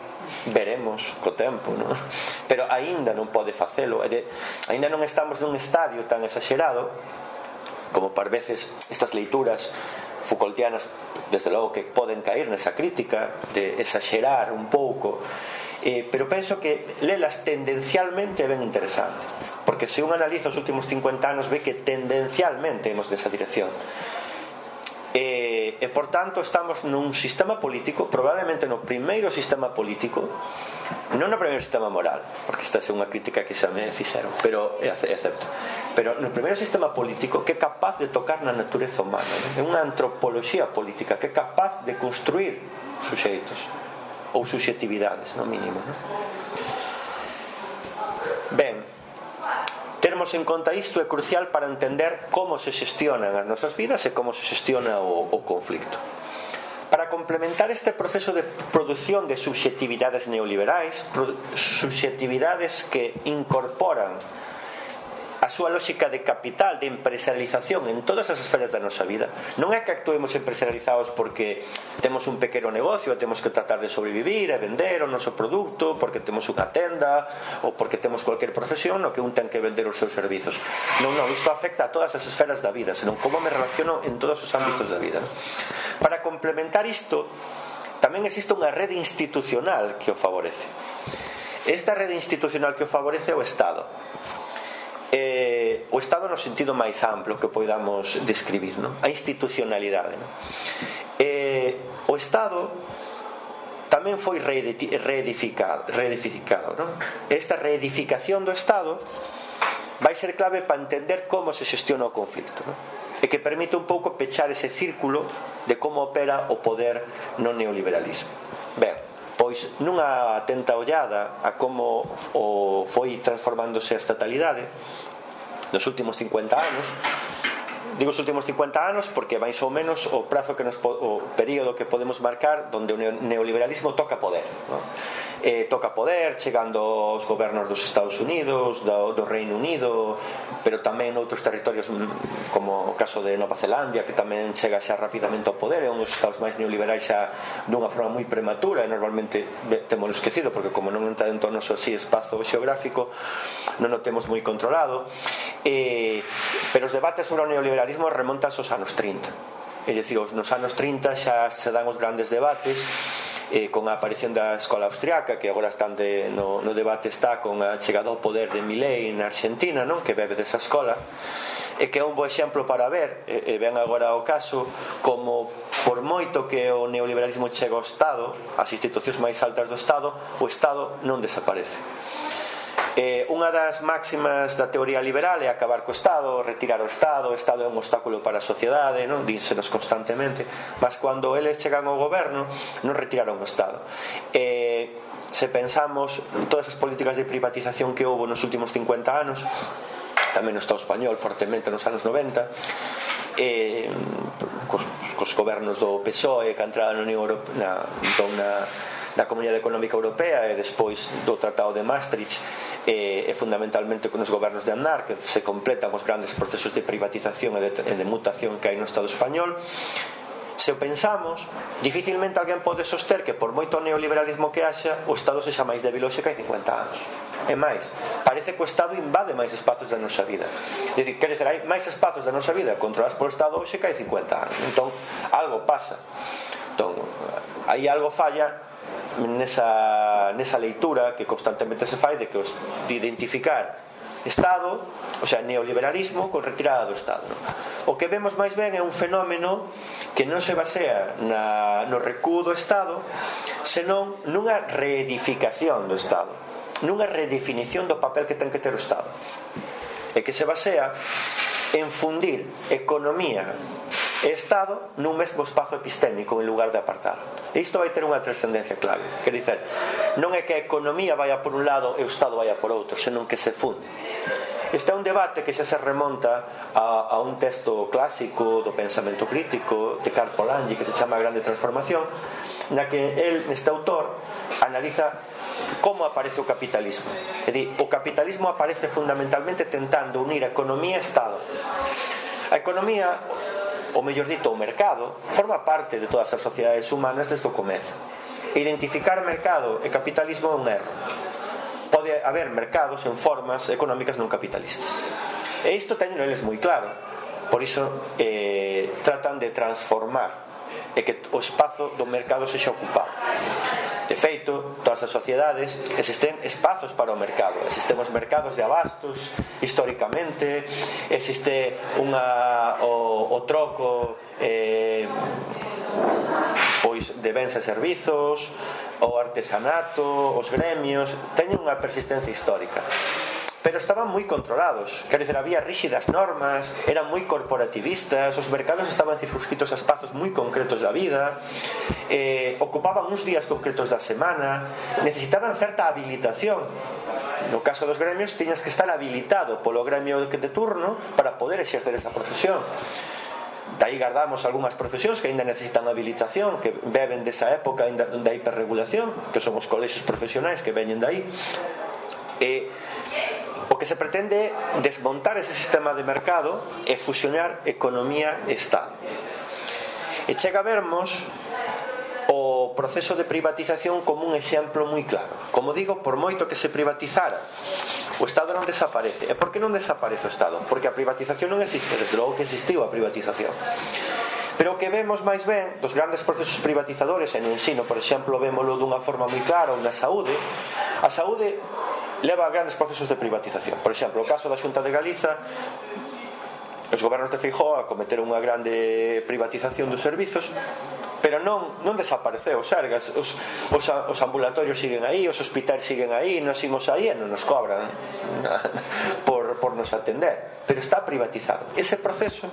veremos co tempo, non? Pero aínda non pode facelo, aínda non estamos nun estadio tan exagerado como par veces estas leituras Foucaultianas, desde logo que poden caer nesa crítica de exagerar un pouco, pero penso que lelas tendencialmente é ben interesante, porque se un analiza os últimos 50 anos ve que tendencialmente imos nesa dirección. E por tanto estamos nun sistema político, probablemente no primeiro sistema político, non no primeiro sistema moral, porque esta é unha crítica que xa me fixeron, pero é acepto, pero no primeiro sistema político que é capaz de tocar na natureza humana, é unha antropoloxía política que é capaz de construir suxeitos ou subxectividades, no mínimo, non? Ben, termos en conta isto é crucial para entender como se xestionan as nosas vidas e como se xestiona o conflicto. Para complementar este proceso de produción de subxectividades neoliberais, subxectividades que incorporan a súa lógica de capital, de empresarialización en todas as esferas da nosa vida. Non é que actuemos empresarializados porque temos un pequeno negocio e temos que tratar de sobrevivir e vender o noso produto, porque temos unha tenda ou porque temos cualquier profesión no que un ten que vender os seus servizos. Non, isto afecta a todas as esferas da vida, senón como me relaciono en todos os ámbitos da vida. Para complementar isto, tamén existe unha rede institucional que o favorece. Esta rede institucional que o favorece é o Estado. O Estado no sentido máis amplo que podamos describir, non? A institucionalidade, non? O Estado tamén foi reedificado, non? Esta reedificación do Estado vai ser clave para entender como se xestiona o conflito, non? E que permite un pouco pechar ese círculo de como opera o poder no neoliberalismo. Ben, pois nunha atenta ollada a como foi transformándose a estatalidade nos últimos 50 anos, digo os últimos 50 anos porque máis ou menos o prazo que o período que podemos marcar onde o neoliberalismo toca poder, non? Toca poder chegando aos gobernos dos Estados Unidos, do Reino Unido, pero tamén outros territorios como o caso de Nova Zelandia, que tamén chega xa rapidamente ao poder. É un dos estados máis neoliberais xa dunha forma moi prematura e normalmente temos esquecido porque como non entra dentro do noso así espazo xeográfico non o temos moi controlado, pero os debates sobre o neoliberalismo remontan aos anos 30. É dicir, nos anos 30 xa se dan os grandes debates con a aparición da escola austriaca, que agora están no debate está con a chegada ao poder de Milei na Argentina, non? Que bebe desa escola, e que é un bo exemplo para ver, e ven agora o caso, como por moito que o neoliberalismo chega ao Estado, as institucións máis altas do Estado, o Estado non desaparece. Unha das máximas da teoría liberal é acabar co Estado, retirar o Estado é un obstáculo para a sociedade, non? Dínsenos constantemente, mas cando eles chegan ao goberno non retiraron o Estado. Se pensamos en todas as políticas de privatización que houve nos últimos 50 anos, tamén no Estado español fortemente nos anos 90, cos gobernos do PSOE que entraron na Comunidade Económica Europea e despois do Tratado de Maastricht, e fundamentalmente con os gobernos de Aznar, que se completan os grandes procesos de privatización e de mutación que hai no Estado español. Se o pensamos, dificilmente alguén pode soster que por moito neoliberalismo que haxa, o Estado sexa máis débil hoxe que hai 50 anos. E máis, parece que o Estado invade máis espazos da nosa vida. É dicir, quer dizer, hai máis espazos da nosa vida controlados polo Estado hoxe que hai 50 anos. Entón, algo pasa. Entón, aí algo falla nesa leitura que constantemente se fai de identificar Estado, o sea, neoliberalismo con retirada do Estado, non? O que vemos máis ben é un fenómeno que non se basea no recuo do Estado, senón nunha reedificación do Estado, nunha redefinición do papel que ten que ter o Estado, e que se basea en fundir economía e Estado nun mesmo espazo epistémico en lugar de apartalo. E isto vai ter unha trascendencia clave. Quer dizer, non é que a economía vaya por un lado e o Estado vaya por outro, senón que se funde. Este é un debate que xa se remonta a un texto clásico do pensamento crítico de Karl Polanyi que se chama A Grande Transformación, na que neste autor analiza como aparece o capitalismo. É dicir, o capitalismo aparece fundamentalmente tentando unir a economía e Estado. A economía, ou mellor dito, o mercado, forma parte de todas as sociedades humanas desde o comezo. Identificar mercado e capitalismo é un erro. Pode haber mercados en formas económicas non capitalistas. E isto teño eles moi claro. Por iso tratan de transformar e que o espazo do mercado sexa ocupado. De feito, todas as sociedades existen espazos para o mercado. Existen os mercados de abastos históricamente, existe o troco pois de bens e servizos, o artesanato, os gremios teñen unha persistencia histórica, pero estaban moi controlados. Quero dizer, había rígidas normas, eran moi corporativistas, os mercados estaban circunscritos a espazos moi concretos da vida, ocupaban uns días concretos da semana, necesitaban certa habilitación. No caso dos gremios tiñas que estar habilitado polo gremio de turno para poder exercer esa profesión. Daí guardamos algunhas profesións que ainda necesitan habilitación, que beben desa época da hiperregulación, que son os colexios profesionais que veñen dai. O que se pretende desmontar ese sistema de mercado e fusionar economía e Estado. E chega a vermos o proceso de privatización como un exemplo moi claro. Como digo, por moito que se privatizara, o Estado non desaparece. E por que non desaparece o Estado? Porque a privatización non existe, desde logo que existiu a privatización. Pero o que vemos máis ben dos grandes procesos privatizadores, e no ensino, por exemplo, vémolo dunha forma moi clara, ou na saúde, a saúde leva a grandes procesos de privatización. Por exemplo, o caso da Xunta de Galiza, os gobernos de Feijóo acometeron unha grande privatización dos servizos, pero non desapareceu o Sergas. Os ambulatorios siguen aí, os hospitais siguen aí, nos imos aí e non nos cobran por nos atender, pero está privatizado. Ese proceso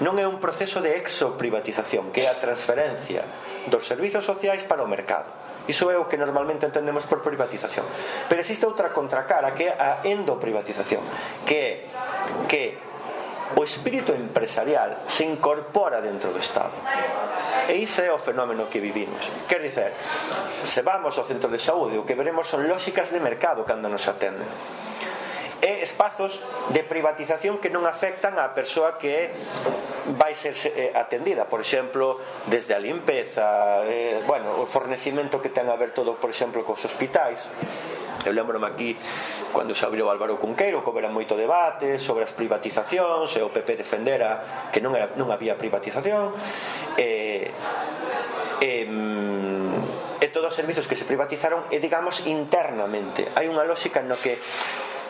non é un proceso de exoprivatización, que é a transferencia dos servizos sociais para o mercado. Iso é o que normalmente entendemos por privatización. Pero existe outra contracara, que é a endoprivatización, que o espírito empresarial se incorpora dentro do Estado. E iso é o fenómeno que vivimos. Quer dizer, se vamos ao centro de saúde, o que veremos son lógicas de mercado cando nos atenden. E espazos de privatización que non afectan á persoa que vai ser atendida, por exemplo, desde a limpeza, o fornecimento que ten a ver todo, por exemplo, cos hospitais. Eu lembro-me aquí cando se abriu Álvaro Cunqueiro, que houbera moito debate sobre as privatizacións, e o PP defendera que non había privatización, e todos os servizos que se privatizaron, e digamos internamente hai unha lógica no que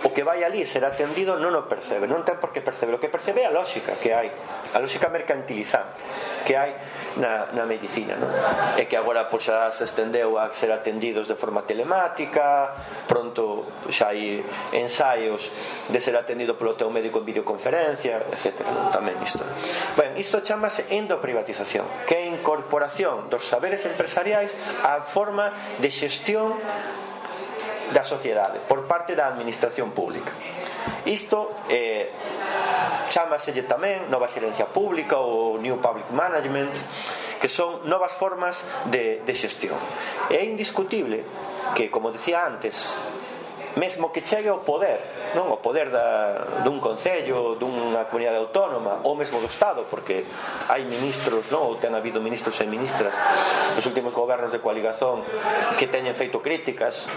o que vai ali ser atendido non o percebe, non ten por que perceber. O que percebe é a lógica que hai, a lógica mercantilizante que hai na medicina, non? E que agora pois xa se estendeu a ser atendidos de forma telemática, pronto xa hai ensaios de ser atendido polo teu médico en videoconferencia, etc. Tamén isto. Ben, isto chamase endoprivatización, que é a incorporación dos saberes empresariais á forma de xestión da sociedade por parte da administración pública. Isto chámaselle tamén nova xerencia pública ou New Public Management, que son novas formas de xestión. É indiscutible que, como decía antes, mesmo que chegue ao poder, non o poder dun concello, dunha comunidade autónoma, ou mesmo do Estado, porque hai ministros, non, ou ten habido ministros e ministras nos últimos gobernos de coaligación que teñen feito críticas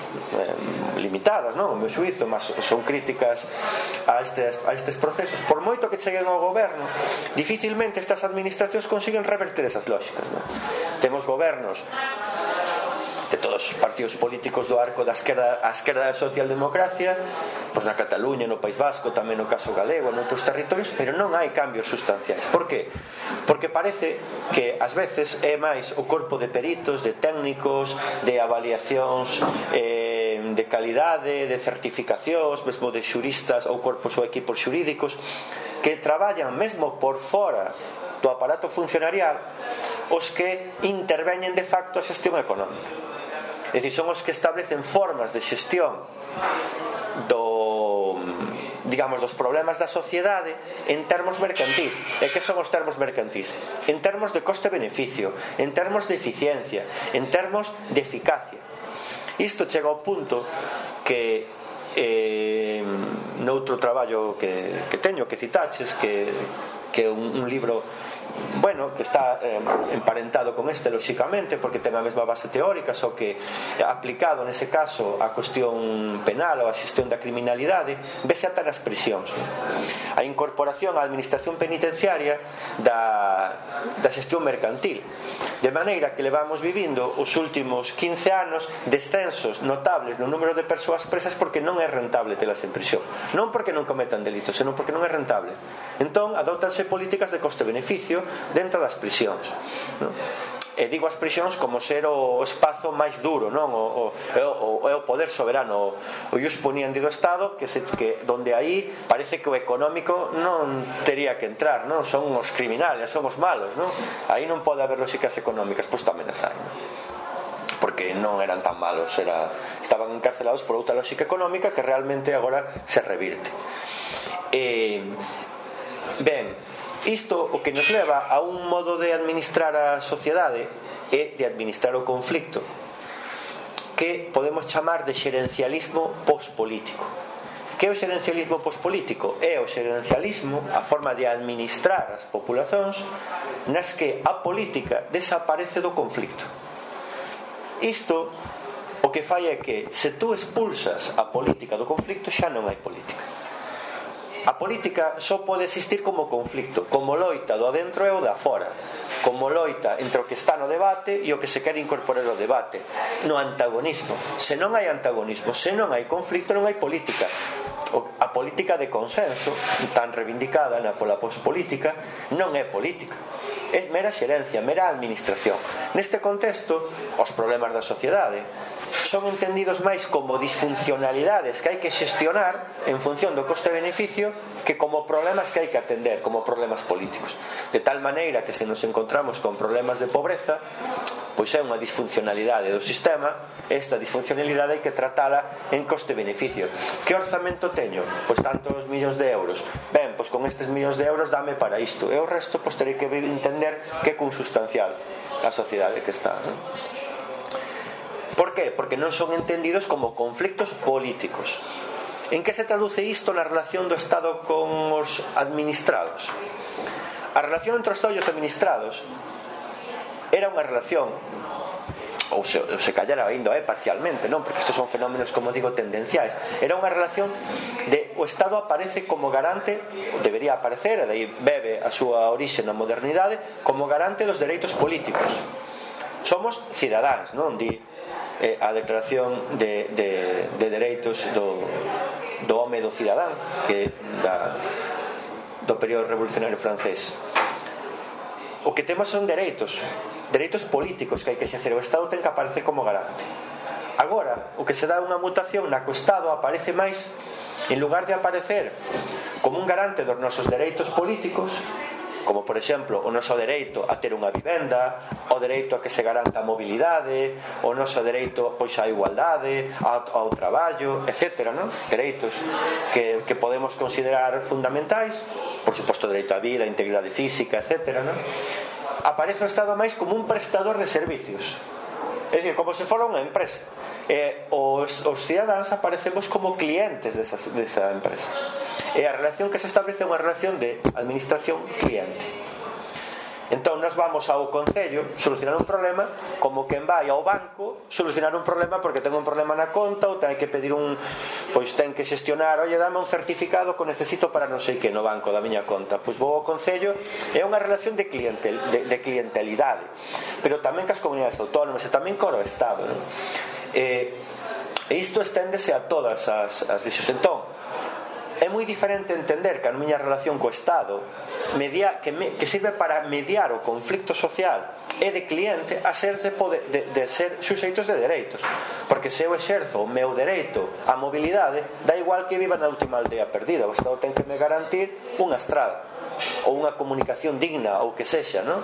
limitadas, non, o meu xuízo, mas son críticas a estes procesos. Por moito que cheguen ao goberno, dificilmente estas administracións consiguen reverter esas lógicas, non? Temos gobernos de todos os partidos políticos do arco da esquerda da socialdemocracia, pois na Cataluña, no País Vasco, tamén no caso galego, noutros territorios, pero non hai cambios sustanciais. Por que? Porque parece que ás veces é máis o corpo de peritos, de técnicos, de avaliacións de calidade, de certificacións, mesmo de xuristas ou corpos ou equipos xurídicos que traballan mesmo por fora do aparato funcionarial, os que interveñen de facto a xestión económica. É dicir, son os que establecen formas de xestión dos problemas da sociedade en termos mercantís. E que son os termos mercantís? En termos de coste-beneficio, en termos de eficiencia, en termos de eficacia. Isto chega ao punto que noutro traballo que teño, que citaches, que é un libro bueno, que está emparentado con este, lóxicamente, porque ten a mesma base teórica, só que aplicado nese caso a cuestión penal ou a xestión da criminalidade, vese ata nas prisións. A incorporación á administración penitenciaria da xestión mercantil, de maneira que levamos vivindo os últimos 15 anos descensos notables no número de persoas presas porque non é rentable telas en prisión, non porque non cometan delitos, senón porque non é rentable. Entón adóptanse políticas de coste-beneficio dentro das prisións, non? E digo as prisións como ser o espazo máis duro, non? O poder soberano, o ius poniendi do Estado, que donde aí parece que o económico non tería que entrar, non? Son os criminales, son os malos, non? Aí non pode haber lóxicas económicas, pois tamén as hai, non? Porque non eran tan malos, estaban encarcelados por outra lógica económica que realmente agora se revirte. Ben, isto o que nos leva a un modo de administrar a sociedade e de administrar o conflicto que podemos chamar de xerencialismo pospolítico. Que é o xerencialismo pospolítico? É o xerencialismo, a forma de administrar as populacións nas que a política desaparece do conflicto. Isto o que fai é que se tú expulsas a política do conflicto xa non hai política. A política só pode existir como conflicto, como loita do adentro e o da fora, como loita entre o que está no debate e o que se quere incorporar ao debate, no antagonismo. Se non hai antagonismo, se non hai conflicto, non hai política. A política de consenso, tan reivindicada pola pospolítica, non é política, é mera xerencia, mera administración. Neste contexto, os problemas da sociedade son entendidos máis como disfuncionalidades que hai que xestionar en función do coste-beneficio que como problemas que hai que atender, como problemas políticos. De tal maneira que se nos encontramos con problemas de pobreza, pois é unha disfuncionalidade do sistema. Esta disfuncionalidade hai que tratala en coste-beneficio. Que orzamento teño? Pois tantos millóns de euros. Ben, pois con estes millóns de euros dame para isto, e o resto pois terei que entender que é consustancial a sociedade que está, non? Por qué? Porque non son entendidos como conflictos políticos. En que se traduce isto na relación do Estado con os administrados? A relación entre os Estado e os administrados era unha relación, ou se callara ainda parcialmente, non? Porque estes son fenómenos, como digo, tendenciais. Era unha relación de o Estado aparece como garante, debería aparecer, e daí bebe a súa orixe na modernidade, como garante dos dereitos políticos. Somos cidadáns, non? A declaración de dereitos do home do cidadán, que do período revolucionario francés. O que temos son dereitos políticos que hai que exercer. O Estado ten que aparecer como garante. Agora, o que se dá unha mutación na que o Estado aparece máis, en lugar de aparecer como un garante dos nosos dereitos políticos, como por exemplo o noso dereito a ter unha vivenda, o dereito a que se garanta a mobilidade, o noso dereito pois á igualdade, ao traballo, etc., non? Dereitos que podemos considerar fundamentais, por suposto o dereito á vida, a integridade física, etc., non? Aparece o Estado máis como un prestador de servicios, é dicir, como se fora unha empresa. Os cidadáns aparecemos como clientes desa empresa, e a relación que se establece é unha relación de administración-cliente. Entón nos vamos ao concello solucionar un problema como quen vai ao banco solucionar un problema porque ten un problema na conta ou ten que pedir pois ten que xestionar, oye, dame un certificado que necesito para non sei que no banco da miña conta. Pois vou ao concello, é unha relación de clientelidade, pero tamén cas comunidades autónomas e tamén co Estado, non? E isto esténdese a todas as visións. Entón é moi diferente entender que a miña relación co Estado que sirve para mediar o conflicto social e de cliente a ser de ser suxeitos de dereitos, porque se eu exerzo o meu dereito á mobilidade, dá igual que viva na última aldea perdida, o Estado ten que me garantir unha estrada ou unha comunicación digna ou que sexa, non?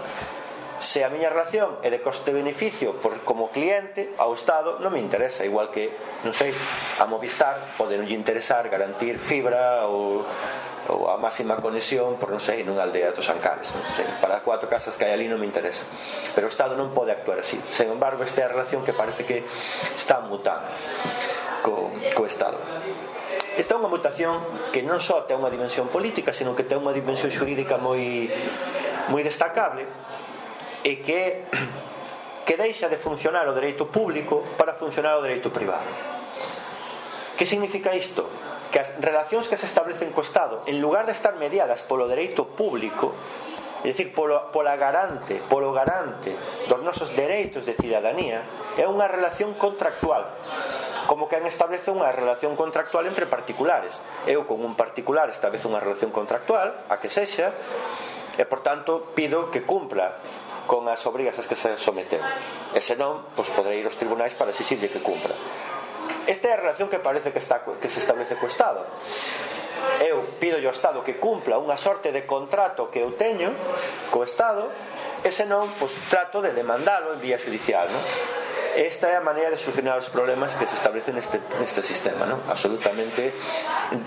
Se a miña relación é de coste-beneficio como cliente, ao Estado non me interesa, igual que, non sei, a Movistar pode non lle interesar garantir fibra ou a máxima conexión por, non sei, nunha aldea dos Ancares, non sei, para 4 casas que hai ali non me interesa, pero o Estado non pode actuar así. Sen embargo, esta é a relación que parece que está mutando co Estado. Esta é unha mutación que non só ten unha dimensión política, sino que ten unha dimensión xurídica moi moi destacable é que deixa de funcionar o dereito público para funcionar o dereito privado. Que significa isto? Que as relacións que se establecen co Estado, en lugar de estar mediadas polo dereito público, é dicir, polo garante dos nosos dereitos de cidadanía, é unha relación contractual, como que establece unha relación contractual entre particulares. Eu con un particular establece unha relación contractual, a que sexa, e por tanto pido que cumpla con as obrigas as que se someten, e senón, pois poderei ir aos tribunais para exixirlle que cumpra. Esta é a relación que parece que se establece co Estado. Eu pido ao Estado que cumpla unha sorte de contrato que eu teño co Estado, e senón, pois trato de demandalo en vía judicial, non? Esta é a maneira de solucionar os problemas que se establecen neste sistema, non? Absolutamente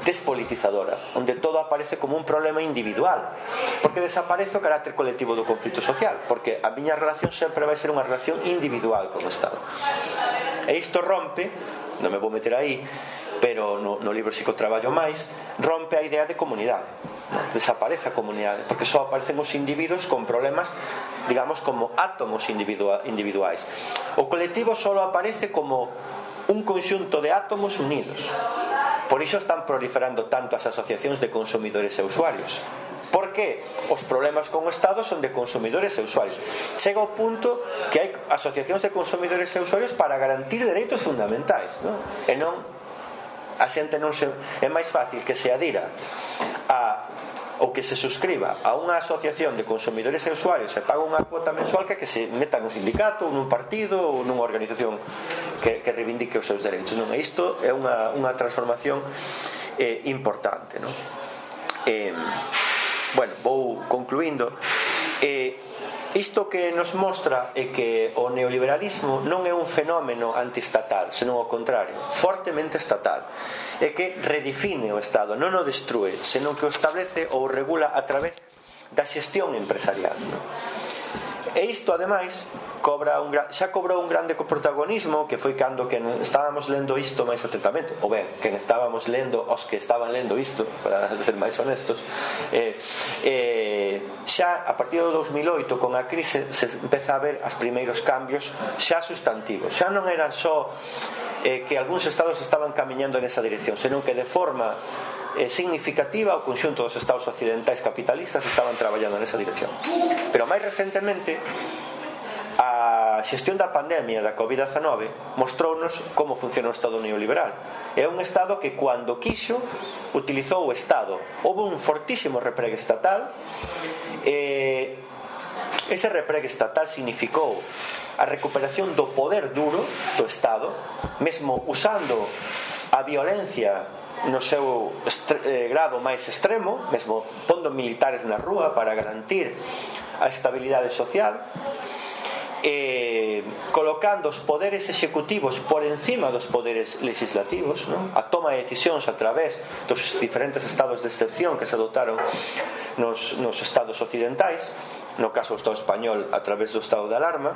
despolitizadora, onde todo aparece como un problema individual, porque desaparece o carácter colectivo do conflito social, porque a miña relación sempre vai ser unha relación individual con o Estado. E isto rompe, non me vou meter aí, pero no libro si que o traballo máis, rompe a idea de comunidade. Desaparece a comunidade, porque só aparecen os individuos con problemas, digamos, como átomos individuais. O colectivo só aparece como un conxunto de átomos unidos. Por iso están proliferando tanto as asociacións de consumidores e usuarios, porque os problemas con o Estado son de consumidores e usuarios. Chega ao punto que hai asociacións de consumidores e usuarios para garantir dereitos fundamentais, non? E non, a xente non se... É máis fácil que se adira ou que se suscriba a unha asociación de consumidores e usuarios e paga unha cuota mensual que se meta nun sindicato ou nun partido ou nunha organización que reivindique os seus dereitos, non? E isto é unha transformación importante, non? Bueno, vou concluindo. Isto que nos mostra é que o neoliberalismo non é un fenómeno antiestatal, senón ao contrario, fortemente estatal. É que redefine o Estado, non o destrue, senón que o establece ou regula a través da xestión empresarial, non? E isto, ademais, xa cobrou un grande protagonismo, que foi cando que estábamos lendo isto máis atentamente, ou ben, que estábamos lendo os que estaban lendo isto, para ser máis honestos, xa a partir do 2008, con a crise, se empeza a ver os primeiros cambios xa sustantivos. Xa non eran só que algúns estados estaban camiñando nesa dirección, senón que de forma significativa o conxunto dos estados occidentais capitalistas estaban traballando nesa dirección. Pero máis recentemente a xestión da pandemia da Covid-19 mostrounos como funciona o Estado neoliberal. É un Estado que, cando quixo, utilizou o Estado. Houve un fortísimo repregue estatal. Ese repregue estatal significou a recuperación do poder duro do Estado, mesmo usando a violencia no seu grado máis extremo, mesmo pondo militares na rúa para garantir a estabilidade social, colocando os poderes executivos por encima dos poderes legislativos, non? A toma de decisións a través dos diferentes estados de excepción que se adotaron nos estados occidentais, no caso do Estado español a través do estado de alarma.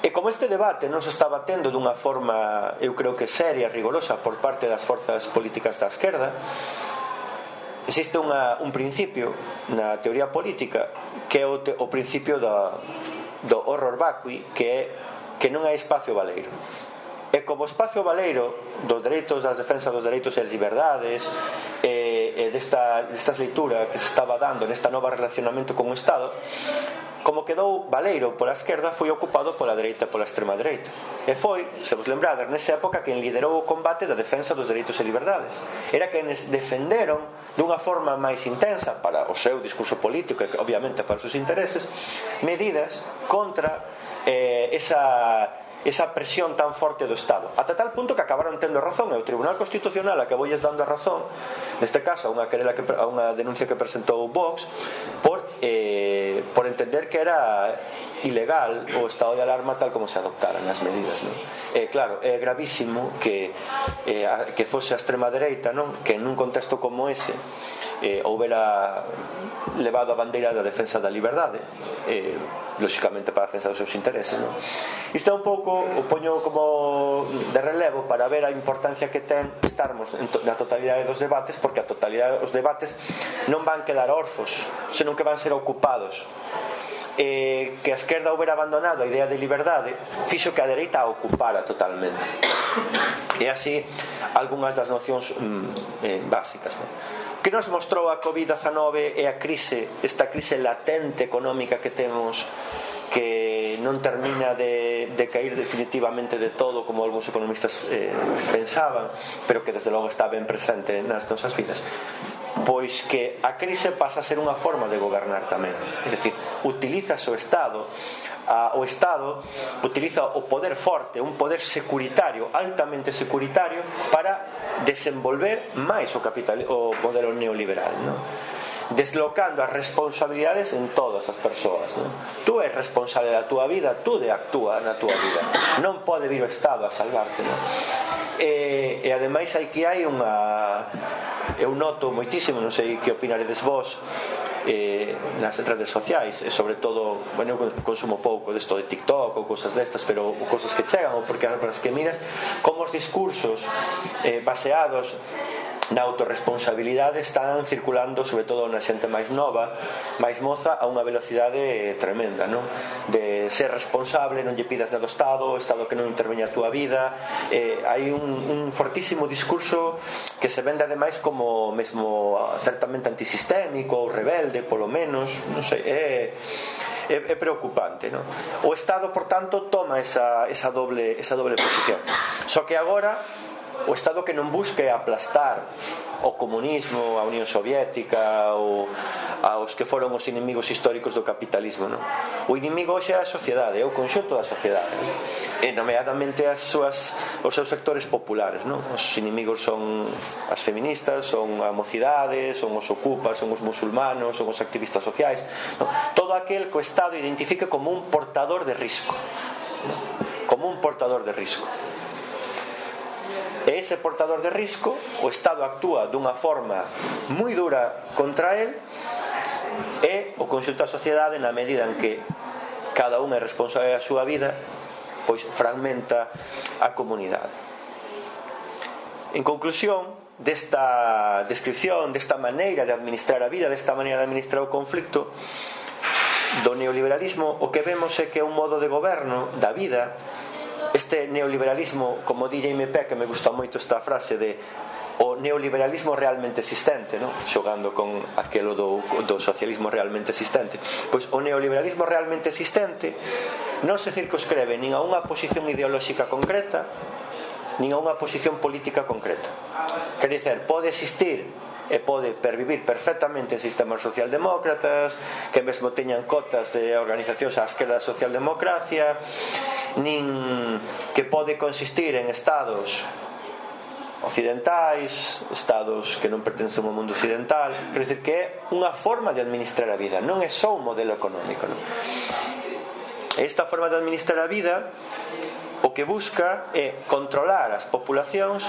E como este debate non se está batendo dunha forma, eu creo que seria, rigorosa, por parte das forzas políticas da esquerda, existe un principio na teoría política que é o principio do horror vacui, que é que non hai espacio baleiro. E como espacio baleiro dos dereitos, das defensas dos dereitos e das liberdades, e destas lectura que se estaba dando nesta nova relacionamento con o Estado, como quedou baleiro pola esquerda, foi ocupado pola dereita e pola extrema dereita. E foi, se vos lembrades, nesa época quen liderou o combate da defensa dos dereitos e liberdades. Era quenes defenderon dunha forma máis intensa para o seu discurso político e obviamente para os seus intereses, medidas contra esa presión tan forte do Estado, ata tal punto que acabaron tendo razón. E o Tribunal Constitucional, a que voulles dando a razón, neste caso a unha denuncia que presentou Vox por entender que era ilegal o estado de alarma tal como se adoptaran as medidas, non? Claro, é gravísimo que fose a extrema dereita, non? Que nun contexto como ese houbera levado a bandeira da defensa da liberdade, lóxicamente para a defensa dos seus intereses, non? Isto é un pouco, o poño como de relevo para ver a importancia que ten estarmos na totalidade dos debates, porque a totalidade dos debates non van quedar orzos, senón que van ser ocupados. Que a esquerda houbera abandonado a idea de liberdade fixo que a dereita a ocupara totalmente, e así algunhas das nocións básicas, non? Que nos mostrou a Covid-19 e a crise, esta crise latente económica que temos, que non termina de cair definitivamente de todo como algúns economistas pensaban, pero que desde logo está ben presente nas nosas vidas. Pois que a crise pasa a ser unha forma de gobernar tamén, é dicir, utiliza o Estado utiliza o poder forte, un poder securitario, altamente securitario, para desenvolver máis o modelo neoliberal, non? Deslocando as responsabilidades en todas as persoas, non? Tú és responsable da túa vida, tú de actúa na túa vida, non pode vir o Estado a salvarte, non? E ademais aquí hai unha, eu noto moitísimo, non sei que opinaredes vos, nas redes sociais, e sobre todo, bueno, eu consumo pouco desto de TikTok ou cosas destas, pero cosas que chegan, ou porque as que miras como os discursos baseados na autorresponsabilidade están circulando, sobre todo na xente máis nova, máis moza, a unha velocidade tremenda, non? De ser responsable, non lle pidas nada ao Estado, o Estado que non interveña a túa vida. Hai un fortísimo discurso que se vende ademais como mesmo certamente antisistémico ou rebelde, polo menos, non sei, é preocupante, non? O Estado, por tanto, toma esa doble posición. Só que agora o Estado que non busque aplastar o comunismo, a Unión Soviética ou aos que foron os inimigos históricos do capitalismo, non? O inimigo hoxe é a sociedade, é o conxunto da sociedade, e nomeadamente os seus sectores populares, non? Os inimigos son as feministas, son a mocidade, son os ocupas, son os musulmanos, son os activistas sociais, non? Todo aquel que o Estado identifique como un portador de risco, non? Como un portador de risco. E ese portador de risco, o Estado actúa dunha forma moi dura contra el, e o conxunto da sociedade, na medida en que cada un é responsable da súa vida, pois fragmenta a comunidade. En conclusión desta descripción, desta maneira de administrar a vida, desta maneira de administrar o conflicto do neoliberalismo, o que vemos é que é un modo de goberno da vida. Este neoliberalismo, como di Jaime Peck, que me gusta moito esta frase de o neoliberalismo realmente existente, non? Xogando con aquelo do socialismo realmente existente. Pois o neoliberalismo realmente existente non se circunscreve nin a unha posición ideolóxica concreta, nin a unha posición política concreta. Quer dizer, pode existir e pode pervivir perfectamente en sistemas socialdemócratas que mesmo teñan cotas de organizacións á esquerda da socialdemocracia, nin que pode consistir en estados occidentais, estados que non pertencen ao mundo occidental. Quer dizer que é unha forma de administrar a vida, non é só un modelo económico, non? Esta forma de administrar a vida o que busca é controlar as populacións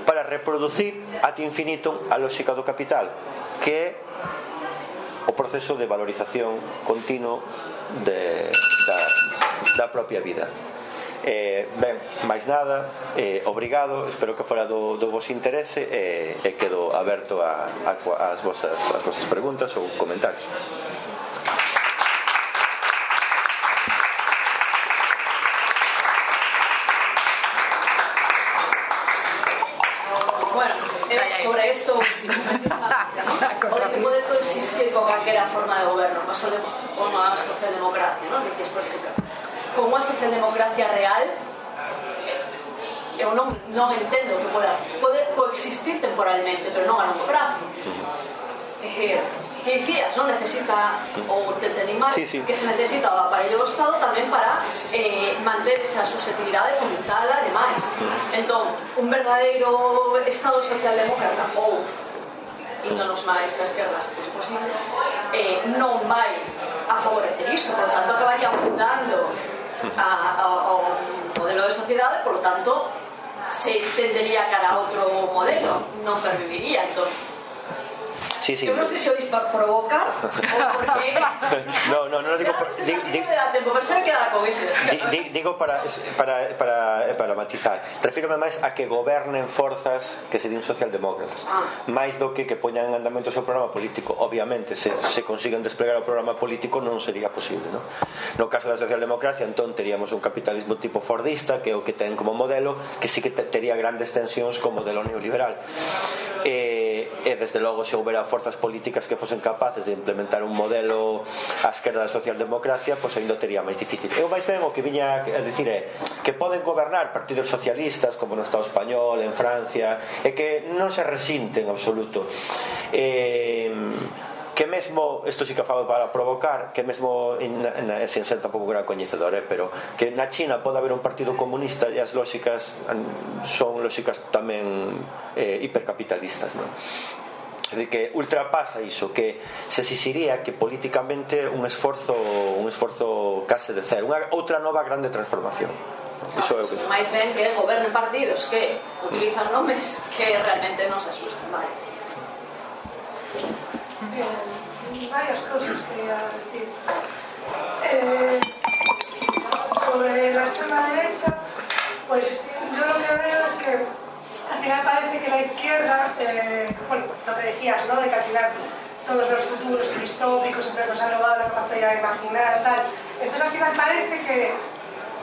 para reproducir ad infinitum a lógica do capital, que é o proceso de valorización continuo da propia vida. Ben, máis nada, obrigado, espero que fora do vos interese, e quedo aberto ás vosas preguntas ou comentarios. Sobre esto, o que pode coexistir con calquera forma de goberno, ou unha socialdemocracia, non? Como a socialdemocracia real, eu non entendo que pode coexistir temporalmente, pero non a longo prazo. Que dicías, non necesita o entendimar que se necesita o aparello do Estado tamén para manter esa susceptibilidade, fomentala e demais. Entón, un verdadeiro Estado socialdemócrata ou índonos máis a esquerda, se fose posible, non vai a favorecer iso, por lo tanto acabaría mudando ao modelo de sociedade, por lo tanto se tendería cara a outro modelo, non perviviría. Entón, sí, sí. Eu non sei se o dis para provocar ou porque no digo por, digo para matizar. Refírome máis a que gobernen forzas que se din socialdemócratas, máis do que poñan en andamento o seu programa político. Obviamente, se consiguen desplegar o programa político non sería posible, ¿no? No caso da socialdemocracia, entón teríamos un capitalismo tipo fordista, que é o que ten como modelo, que sí que tería grandes tensións como modelo neoliberal. E desde logo, se houbera forzas políticas que fosen capaces de implementar un modelo á esquerda da socialdemocracia, pois ainda tería máis difícil. Eu máis ben o que viña a dicir é que poden gobernar partidos socialistas como no Estado español, en Francia, e que non se resinten en absoluto, que mesmo, isto sí que falo para provocar, que mesmo sen ser tampouco gran coñecedor, pero que na China pode haber un partido comunista e as lógicas son lógicas tamén hipercapitalistas, non? É dicir, que ultrapasa iso, que se exixiría que políticamente un esforzo case de cero, unha outra nova grande transformación. Iso é o que máis ben que gobernen partidos que utilizan nomes que realmente non se asustan. Vale. Varias cosas quería decir. Sobre la extrema derecha, pues yo lo que veo es que al final parece que la izquierda, bueno, lo que decías, ¿no? De que al final todos los futuros distópicos entonces nos han robado la capacidad de imaginar, tal. Entonces al final parece que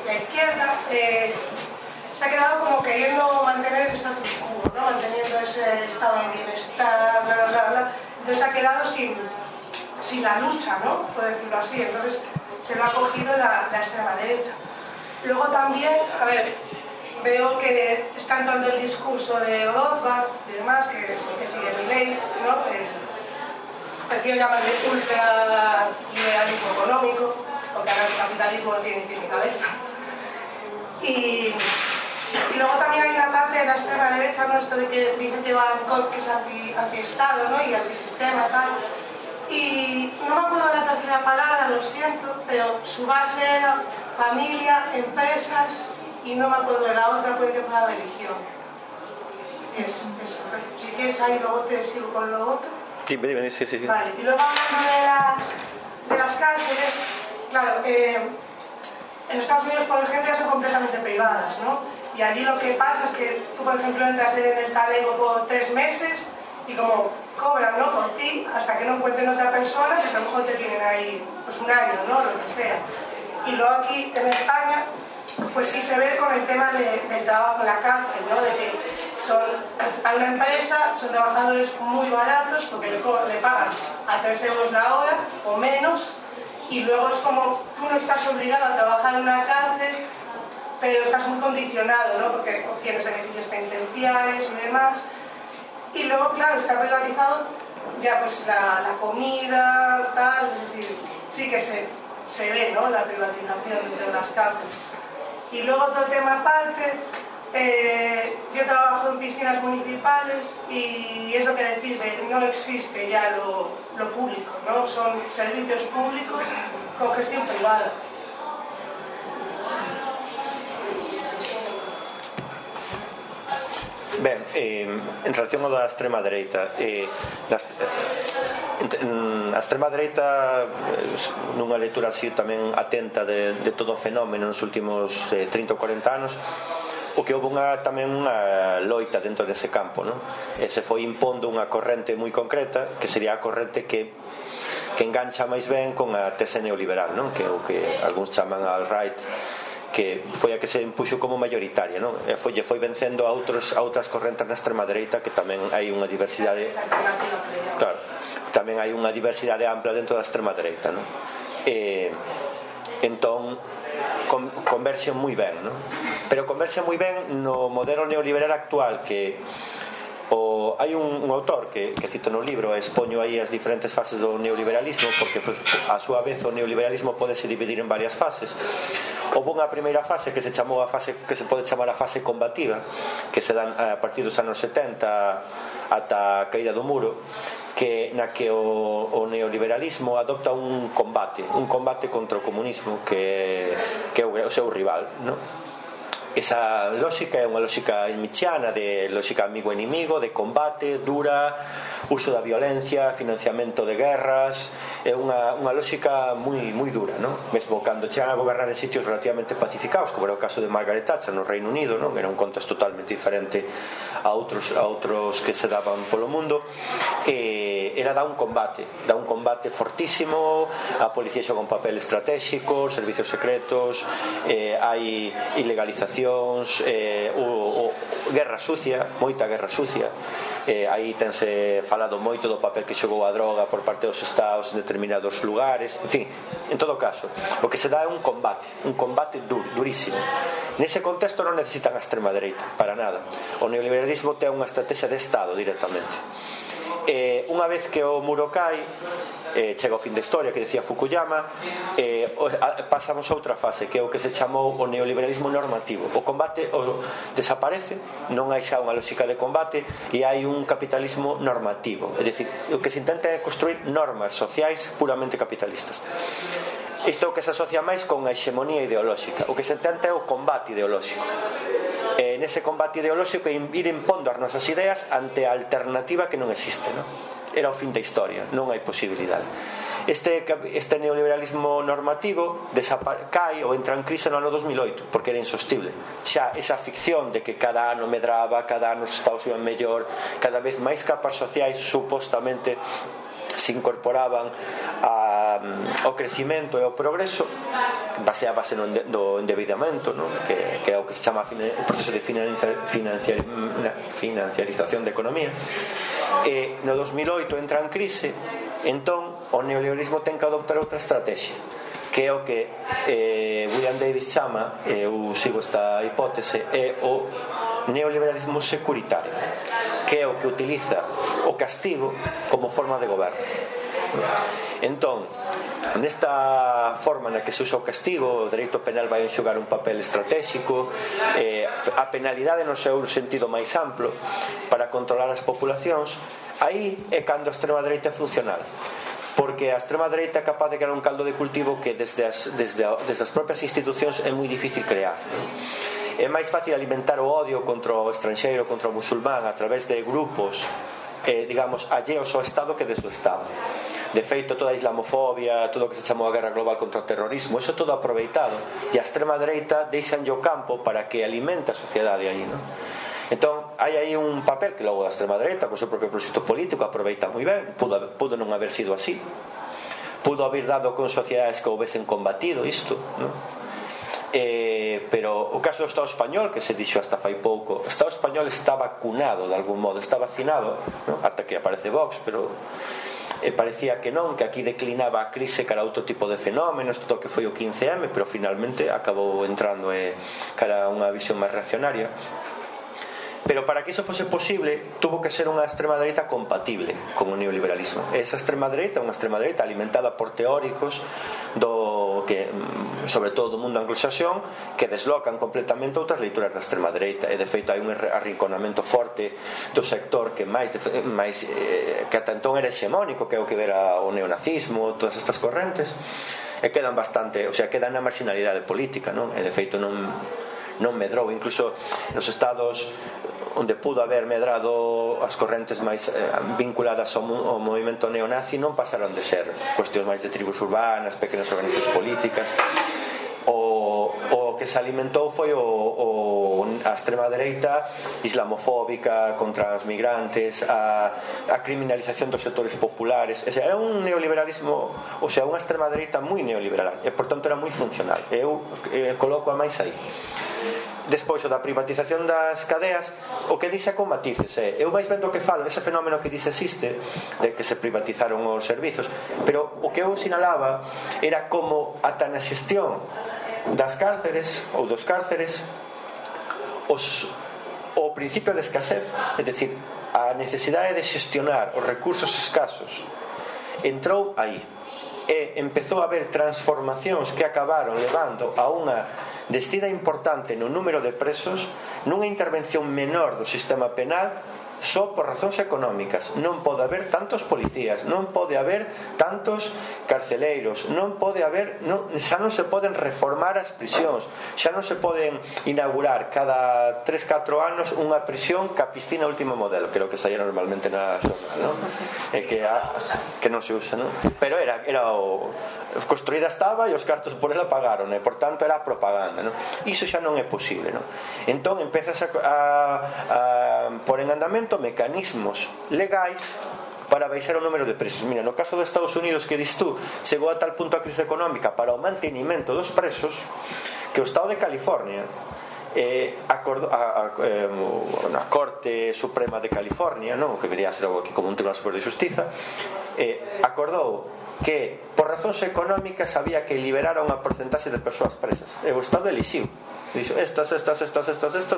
la izquierda se ha quedado como queriendo mantener el status quo, ¿no? Manteniendo ese estado de bienestar, bla, bla, bla, bla. Entonces se ha quedado sin la lucha, ¿no? Por decirlo así. Entonces se lo ha cogido la extrema derecha. Luego también, a ver, veo que está entrando el discurso de Rothbard y demás, que sigue Milei, ¿no? Prefiero llamarle ultra liberalismo económico, porque ahora el capitalismo no tiene ni pie ni cabeza. Y luego también hay una parte de la extrema derecha, ¿no? Esto de que dice que Bangkok es anti-estado, ¿no? Y antisistema, tal. Y no me acuerdo la tercera palabra, lo siento, pero su base era familia, empresas, y no me acuerdo de la otra, puede que fuera religión. Si quieres ahí luego te sigo con lo otro. Sí. Vale, y luego hablando de las cárceles, claro, en Estados Unidos, por ejemplo, ya son completamente privadas, ¿no? Y allí lo que pasa es que tú, por ejemplo, entras en el talego por 3 meses y como cobran, ¿no? Por ti, hasta que no encuentren otra persona, pues a lo mejor te tienen ahí pues un año, ¿no? Lo que sea. Y luego aquí en España, pues sí se ve con el tema del trabajo en la cárcel, ¿no? De que a una empresa son trabajadores muy baratos porque le pagan a 3 euros la hora o menos, y luego es como tú no estás obligado a trabajar en una cárcel, pero estás muy condicionado, ¿no? Porque obtienes beneficios penitenciarios y demás. Y luego, claro, está privatizado ya pues la comida, tal, es decir, sí que se ve, ¿no? La privatización de las cárceles. Y luego otro tema aparte, yo trabajo en piscinas municipales y es lo que decís, no existe ya lo público, ¿no? Son servicios públicos con gestión privada. Ben, en relación ao da extrema dereita, a extrema dereita, nunha lectura así tamén atenta de todo o fenómeno nos últimos 30 ou 40 anos, o que houve tamén unha loita dentro dese campo, non? E se foi impondo unha corrente moi concreta, que sería a corrente que engancha máis ben con a tese neoliberal, non? Que é o que algúns chaman a alt-right, que foi a que se impuxo como mayoritaria, non? E foi vencendo a outras correntes na extrema dereita, que tamén hai unha diversidade, claro, tamén hai unha diversidade ampla dentro da extrema dereita, non? Entón converxen moi ben, non? Pero converxen moi ben no modelo neoliberal actual, que hai un autor que cito no libro, expoño aí as diferentes fases do neoliberalismo, porque pues, a súa vez o neoliberalismo podese dividir en varias fases. Houve unha primeira fase que se chamou a fase que se pode chamar a fase combativa, que se dan a partir dos anos 70 ata a caída do muro, na que o neoliberalismo adopta un combate contra o comunismo que é o seu rival, non? Esa lógica é unha lógica nietzscheana de lógica amigo-inimigo, de combate dura, uso da violencia, financiamento de guerras. É unha lógica moi dura, non? Mesmo cando chegan a gobernar en sitios relativamente pacificados, como era o caso de Margaret Thatcher no Reino Unido, non? Era un contexto totalmente diferente a outros que se daban polo mundo. Ela dá un combate fortísimo, a policía xoga un papel estratégico, servicios secretos, hai ilegalizacións, guerra sucia, moita guerra sucia. Aí tense falado moito do papel que xogou a droga por parte dos estados en determinados lugares. En fin, en todo caso, o que se dá é un combate durísimo. Nese contexto non necesitan a extrema dereita para nada. O neoliberalismo ten unha estrategia de estado directamente. Unha vez que o muro cae, chega o fin da historia que decía Fukuyama, pasamos a outra fase, que é o que se chamou o neoliberalismo normativo. O combate desaparece, non hai xa unha lógica de combate, e hai un capitalismo normativo. É dicir, o que se intenta é construir normas sociais puramente capitalistas. Isto é o que se asocia máis con a hexemonía ideolóxica. O que se intenta é o combate ideolóxico. Nese combate ideolóxico ir impondo as nosas ideas ante a alternativa que non existe, non? Era o fin da historia, non hai posibilidade. Este neoliberalismo normativo cae ou entra en crise no ano 2008 porque era insostible. Xa esa ficción de que cada ano medraba, cada ano os estados iban mellor, cada vez máis capas sociais supostamente se incorporaban ao crecimento e ao progreso, baseábase no endeudamento, non? Que é o que se chama o proceso de financiarización da economía. No 2008 entra en crise, entón o neoliberalismo ten que adoptar outra estrategia, que é o que William Davis chama, eu sigo esta hipótese, é o neoliberalismo securitario, que é o que utiliza o castigo como forma de goberno. Entón, nesta forma na que se usa o castigo, o dereito penal vai enxugar un papel estratégico, a penalidade no seu sentido máis amplo para controlar as populacións. Aí é cando a extrema dereita é funcional, porque a extrema dereita é capaz de crear un caldo de cultivo que desde as propias institucións é moi difícil crear. É máis fácil alimentar o odio contra o estranxeiro, contra o musulmán, a través de grupos digamos, alleos ao Estado que desde o Estado. De feito, toda a islamofobia, todo o que se chamou a guerra global contra o terrorismo, iso todo aproveitado, e a extrema dereita deixanlle o campo para que alimente a sociedade aí, non? Entón, hai aí un papel que logo a extrema dereita, con o seu propio proxecto político, aproveita moi ben. Pudo non haber sido así, pudo haber dado con sociedades que houvesen combatido isto, non? Pero o caso do Estado español, que se dixo hasta fai pouco, o Estado español está vacunado de algún modo, está vacinado, non? Ata que aparece Vox, pero parecía que non, que aquí declinaba a crise cara a outro tipo de fenómenos, todo o que foi o 15M, pero finalmente acabou entrando cara a unha visión máis reaccionaria. Pero para que iso fose posible, tuvo que ser unha extrema dereita compatible con o neoliberalismo. Esa extrema dereita, unha extrema dereita alimentada por teóricos sobre todo do mundo anglosaxón, que deslocan completamente outras leituras da extrema dereita. E de feito hai un arrinconamento forte do sector que que ata entón era hexemónico, que é o que era o neonazismo, todas estas correntes, e quedan bastante, quedan na marginalidade política, non? E de feito non medrou, incluso nos estados onde pudo haber medrado as correntes máis vinculadas ao movimento neonazi, non pasaron de ser cuestións máis de tribus urbanas, pequenas organizacións políticas. O que se alimentou foi a extrema dereita islamofóbica contra os migrantes, a criminalización dos sectores populares. Era un neoliberalismo, unha extrema dereita moi neoliberal, e por tanto era moi funcional. Eu coloco a máis aí. Despois o da privatización das cadeas, o que dixe con matices eu máis vendo o que falo, ese fenómeno que dixe existe, de que se privatizaron os servizos, pero o que eu sinalaba era como ata na xestión das cárceres ou dos cárceres o principio de escasez, é dicir, a necesidade de xestionar os recursos escasos entrou aí, e empezou a haber transformacións que acabaron levando a unha descida importante no número de presos, nunha intervención menor do sistema penal só por razóns económicas. Non pode haber tantos policías, non pode haber tantos carceleiros, non pode haber, xa non se poden reformar as prisións, xa non se poden inaugurar cada 3-4 anos unha prisión ca piscina último modelo, que é o que saía normalmente na xornal, non? E que non se usa, non? Pero era construída estaba e os cartos por ela pagaron, e por tanto era propaganda, non? Iso xa non é posible, non? Entón empezas a por en andamento mecanismos legais para baixar o número de presos. Mira, no caso de Estados Unidos que dis tú, chegou a tal punto a crise económica para o mantenimento dos presos que o Estado de California na Corte Suprema de California, non? O que vería a ser algo aquí como un Tribunal Superior de Xustiza, acordou que por razóns económicas había que liberar a unha porcentaxe de persoas presas, e o Estado elixiu, dixo estas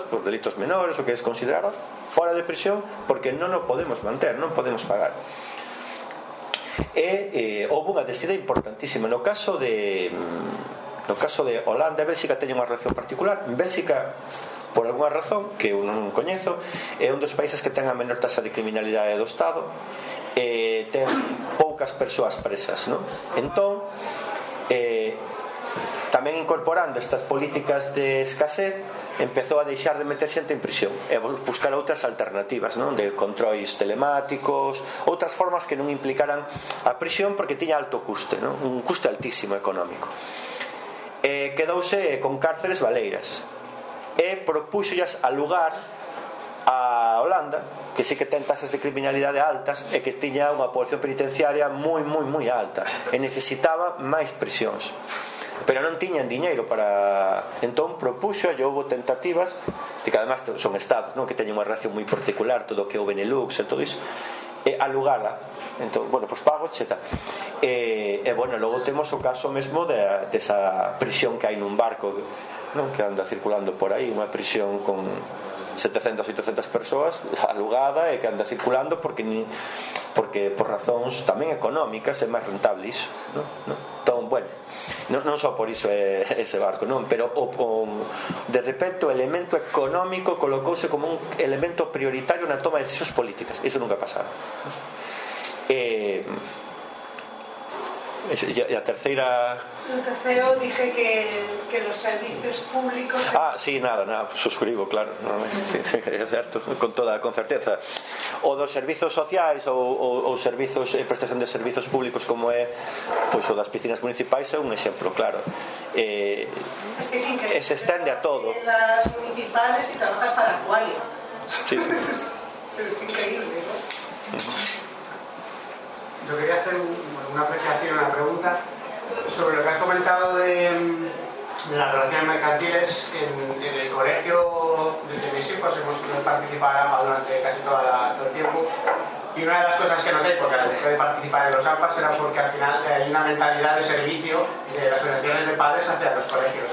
por delitos menores, o que es considerado fora de prisión, porque non o podemos manter, non podemos pagar. E houve unha decida importantísima no caso de Holanda e Bélxica. Teñen unha relación particular. En Bélxica, por algunha razón que eu non coñezo, é un dos países que ten a menor taxa de criminalidade do Estado, ten poucas persoas presas, non? Entón, tamén incorporando estas políticas de escasez, empezou a deixar de meter xente en prisión e buscar outras alternativas, non? De controis telemáticos, outras formas que non implicaran a prisión, porque tiña alto custe, non? Un custe altísimo económico. Quedouse con cárceles baleiras e propúxollas alugar a Holanda, que sí que ten tasas de criminalidade altas e que tiña unha población penitenciaria moi alta e necesitaba máis prisións, pero non tiñan diñeiro para... Entón propuxo, e houve tentativas de que además son estados, non? Que teñen unha relación moi particular, todo o que é o Benelux e todo iso, e alugala. Entón, bueno, pois pago cheta. E bueno, logo temos o caso mesmo desa prisión que hai nun barco, non? Que anda circulando por aí, unha prisión con 700 ou 800 persoas alugada e que anda circulando porque por razóns tamén económicas é máis rentable iso, non? Entón, bueno, non só por iso é ese barco, non? Pero de repente o elemento económico colocouse como un elemento prioritario na toma de decisións políticas. Iso nunca pasaba. E a terceira... El tercero dije que los servicios públicos... sí, nada, suscribo, claro, no, sí, é certo, con certeza. O dos servizos sociais ou servizos, prestación de servizos públicos como é pois o das piscinas municipais é un exemplo, claro. Es que es increíble. Se estende a todo. En las municipales y trabajas para la Qualia. Sí. Pero es increíble, ¿no? Yo quería hacer una apreciación, una pregunta sobre lo que has comentado de las relaciones mercantiles. En el colegio de mis hijos hemos participado en AMPA durante casi todo el tiempo, y una de las cosas que noté, porque dejé de participar en los AMPAs, era porque al final hay una mentalidad de servicio de las asociaciones de padres hacia los colegios.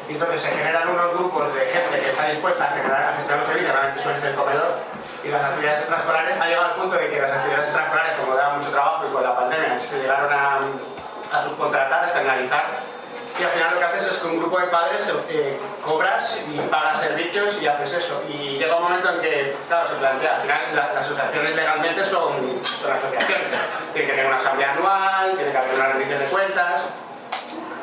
Y entonces se generan unos grupos de gente que está dispuesta a gestionar los servicios, realmente suele ser el comedor, y las actividades extraescolares. Ha llegado al punto de que las actividades extraescolares, como daban mucho trabajo y con la pandemia, se llegaron a subcontratar, a externalizar, y al final lo que haces es que un grupo de padres cobras y pagas servicios y haces eso. Y llega un momento en que, claro, se plantea, al final las asociaciones legalmente son asociaciones, tienen que tener una asamblea anual, tiene que haber una rendición de cuentas.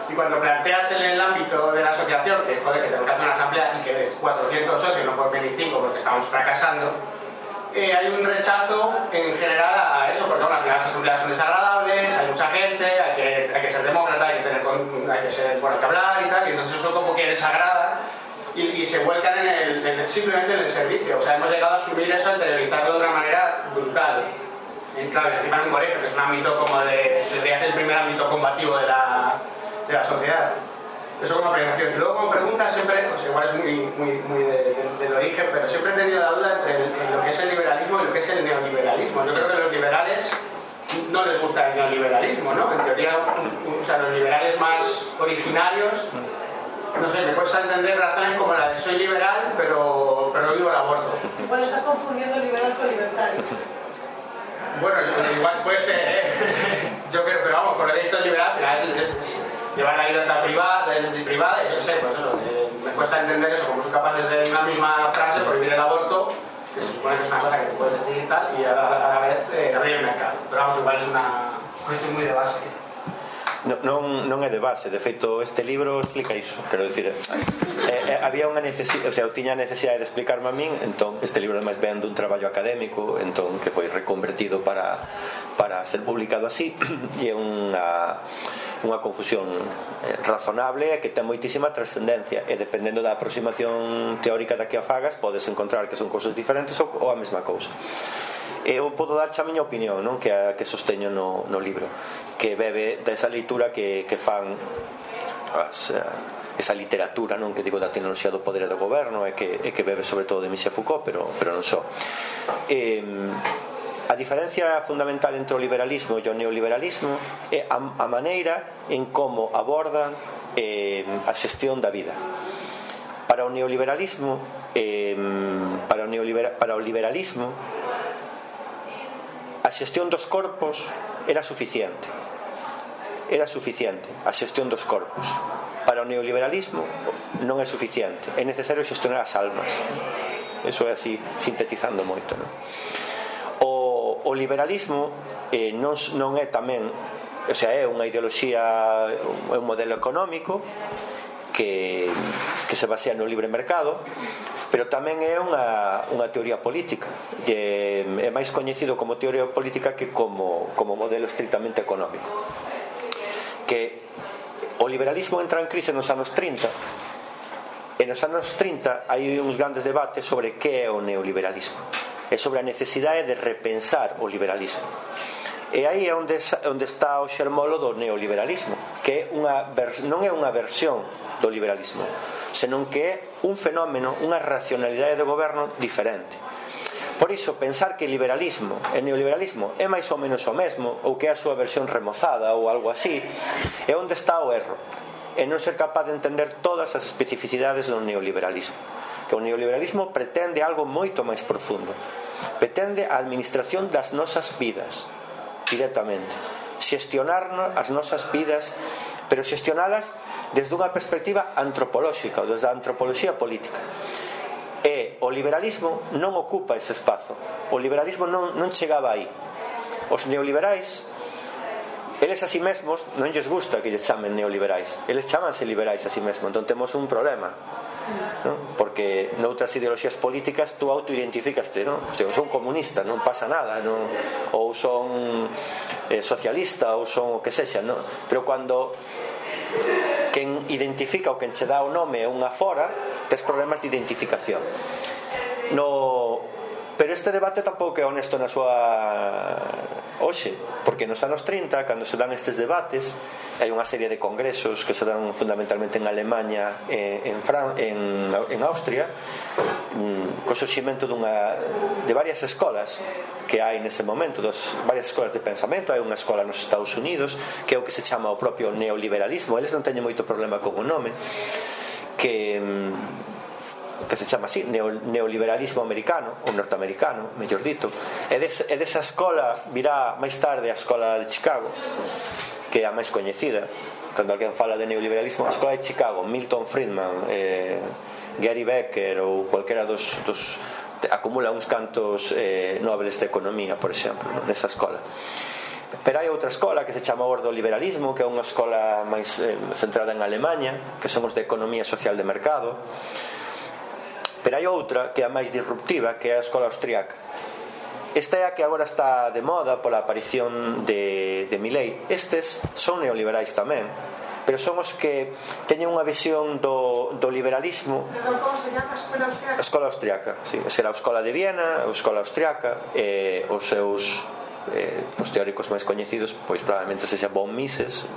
Y cuando planteas en el ámbito de la asociación que, joder, que tenemos que hacer una asamblea y que de 400 socios no pueden venir 5 porque estamos fracasando, hay un rechazo en general a eso, porque bueno, al final las asambleas son desagradables, hay mucha gente, hay que ser demócrata, hay que ser bueno, que hablar y tal, y entonces eso como que desagrada y se vuelcan simplemente en el servicio. O sea, hemos llegado a asumir eso, a interiorizarlo de una manera brutal. Claro, encima en un colegio, que es un ámbito como debería ser el primer ámbito combativo de la sociedad. Eso como apreciación. Y luego como pregunta siempre, pues igual es muy del origen, pero siempre he tenido la duda entre lo que es el liberalismo y lo que es el neoliberalismo. Yo creo que a los liberales no les gusta el neoliberalismo, ¿no? En teoría, o sea, los liberales más originarios, no sé, me cuesta entender razones como la de soy liberal, pero no vivo el aborto. Igual estás confundiendo liberal con libertario. Bueno, igual puede ser, yo creo, pero vamos, por lo que he visto liberal, al final es llevar la libertad privada, y yo sé, pues eso, me cuesta entender eso, como son capaces de en una misma frase prohibir el aborto, se supone que es una cosa que te puedes decidir y tal, y a la vez abrir el mercado. Pero vamos, igual es una cuestión muy de base. Non é de base, de feito este libro explica iso, quero dicir, había unha necesidade, o sea, eu tiña a necesidade de explicarme a min, entón este libro ademais ven dun traballo académico, entón que foi reconvertido para ser publicado así, e é unha confusión razonable e que ten moitísima trascendencia, e dependendo da aproximación teórica da que a fagas podes encontrar que son cousas diferentes ou a mesma cousa. Eu podo darche a miña opinión, non? Que sosteño no libro, que bebe desa leitura que fan esa literatura, non? Que digo da tecnoloxía do poder e do goberno, e que bebe sobre todo de Michel Foucault, pero non só. A diferencia fundamental entre o liberalismo e o neoliberalismo é a maneira en como abordan a xestión da vida. Para o neoliberalismo a xestión dos corpos era suficiente a xestión dos corpos. Para o neoliberalismo non é suficiente, é necesario xestionar as almas. Eso é así, sintetizando moito, non? O liberalismo non é tamén, o sea, é unha ideoloxía, é un modelo económico que se basea no libre mercado, pero tamén é unha teoría política, e é máis coñecido como teoría política que como modelo estritamente económico. Que o liberalismo entra en crise nos anos 30, e nos anos 30 hai uns grandes debates sobre que é o neoliberalismo e sobre a necesidade de repensar o liberalismo. E aí é onde está o xermolo do neoliberalismo, que non é unha versión do liberalismo, senón que é un fenómeno, unha racionalidade de goberno diferente. Por iso, pensar que liberalismo e neoliberalismo é máis ou menos o mesmo, ou que é a súa versión remozada ou algo así, é onde está o erro, e non ser capaz de entender todas as especificidades do neoliberalismo. Que o neoliberalismo pretende algo moito máis profundo, pretende a administración das nosas vidas directamente, xestionar as nosas vidas, pero xestionalas desde unha perspectiva antropolóxica, ou desde a antropoloxía política. E o liberalismo non ocupa ese espazo, o liberalismo non chegaba aí. Os neoliberais, eles a si mesmos non lles gusta que lles chamen neoliberais, eles chamanse liberais a si mesmos, entón temos un problema, non? Porque noutras ideoloxías políticas tú autoidentificaste, non? Eu son comunista, non pasa nada, non? Ou son socialista, ou son o que sexa, non? Pero cando quen identifica ou quen che dá o nome é unha fora, tes problemas de identificación. Pero este debate tampouco é honesto na súa hoxe, porque nos anos 30, cando se dan estes debates, hai unha serie de congresos que se dan fundamentalmente en Alemanha, en Austria, co surximento de varias escolas que hai nese momento, varias escolas de pensamento. Hai unha escola nos Estados Unidos que é o que se chama o propio neoliberalismo, eles non teñen moito problema con o nome, que se chama así, neoliberalismo americano ou norteamericano, mellor dito. E desa escola virá máis tarde a escola de Chicago, que é a máis coñecida. Cando alguén fala de neoliberalismo, a escola de Chicago, Milton Friedman, Gary Becker ou cualquera dos acumula uns cantos nobles de economía, por exemplo, nesa escola. Pero hai outra escola que se chama ordoliberalismo, que é unha escola máis centrada en Alemanha, que son os de economía social de mercado. Pero hai outra que é a máis disruptiva, que é a escola austriaca. Esta é a que agora está de moda pola aparición de Milei. Estes son neoliberais tamén, pero son os que teñen unha visión do liberalismo. Como se llama a escola austriaca? A escola austriaca, sí. Será a escola de Viena, a escola austriaca, os seus teóricos máis coñecidos, pois probablemente sexa von Mises,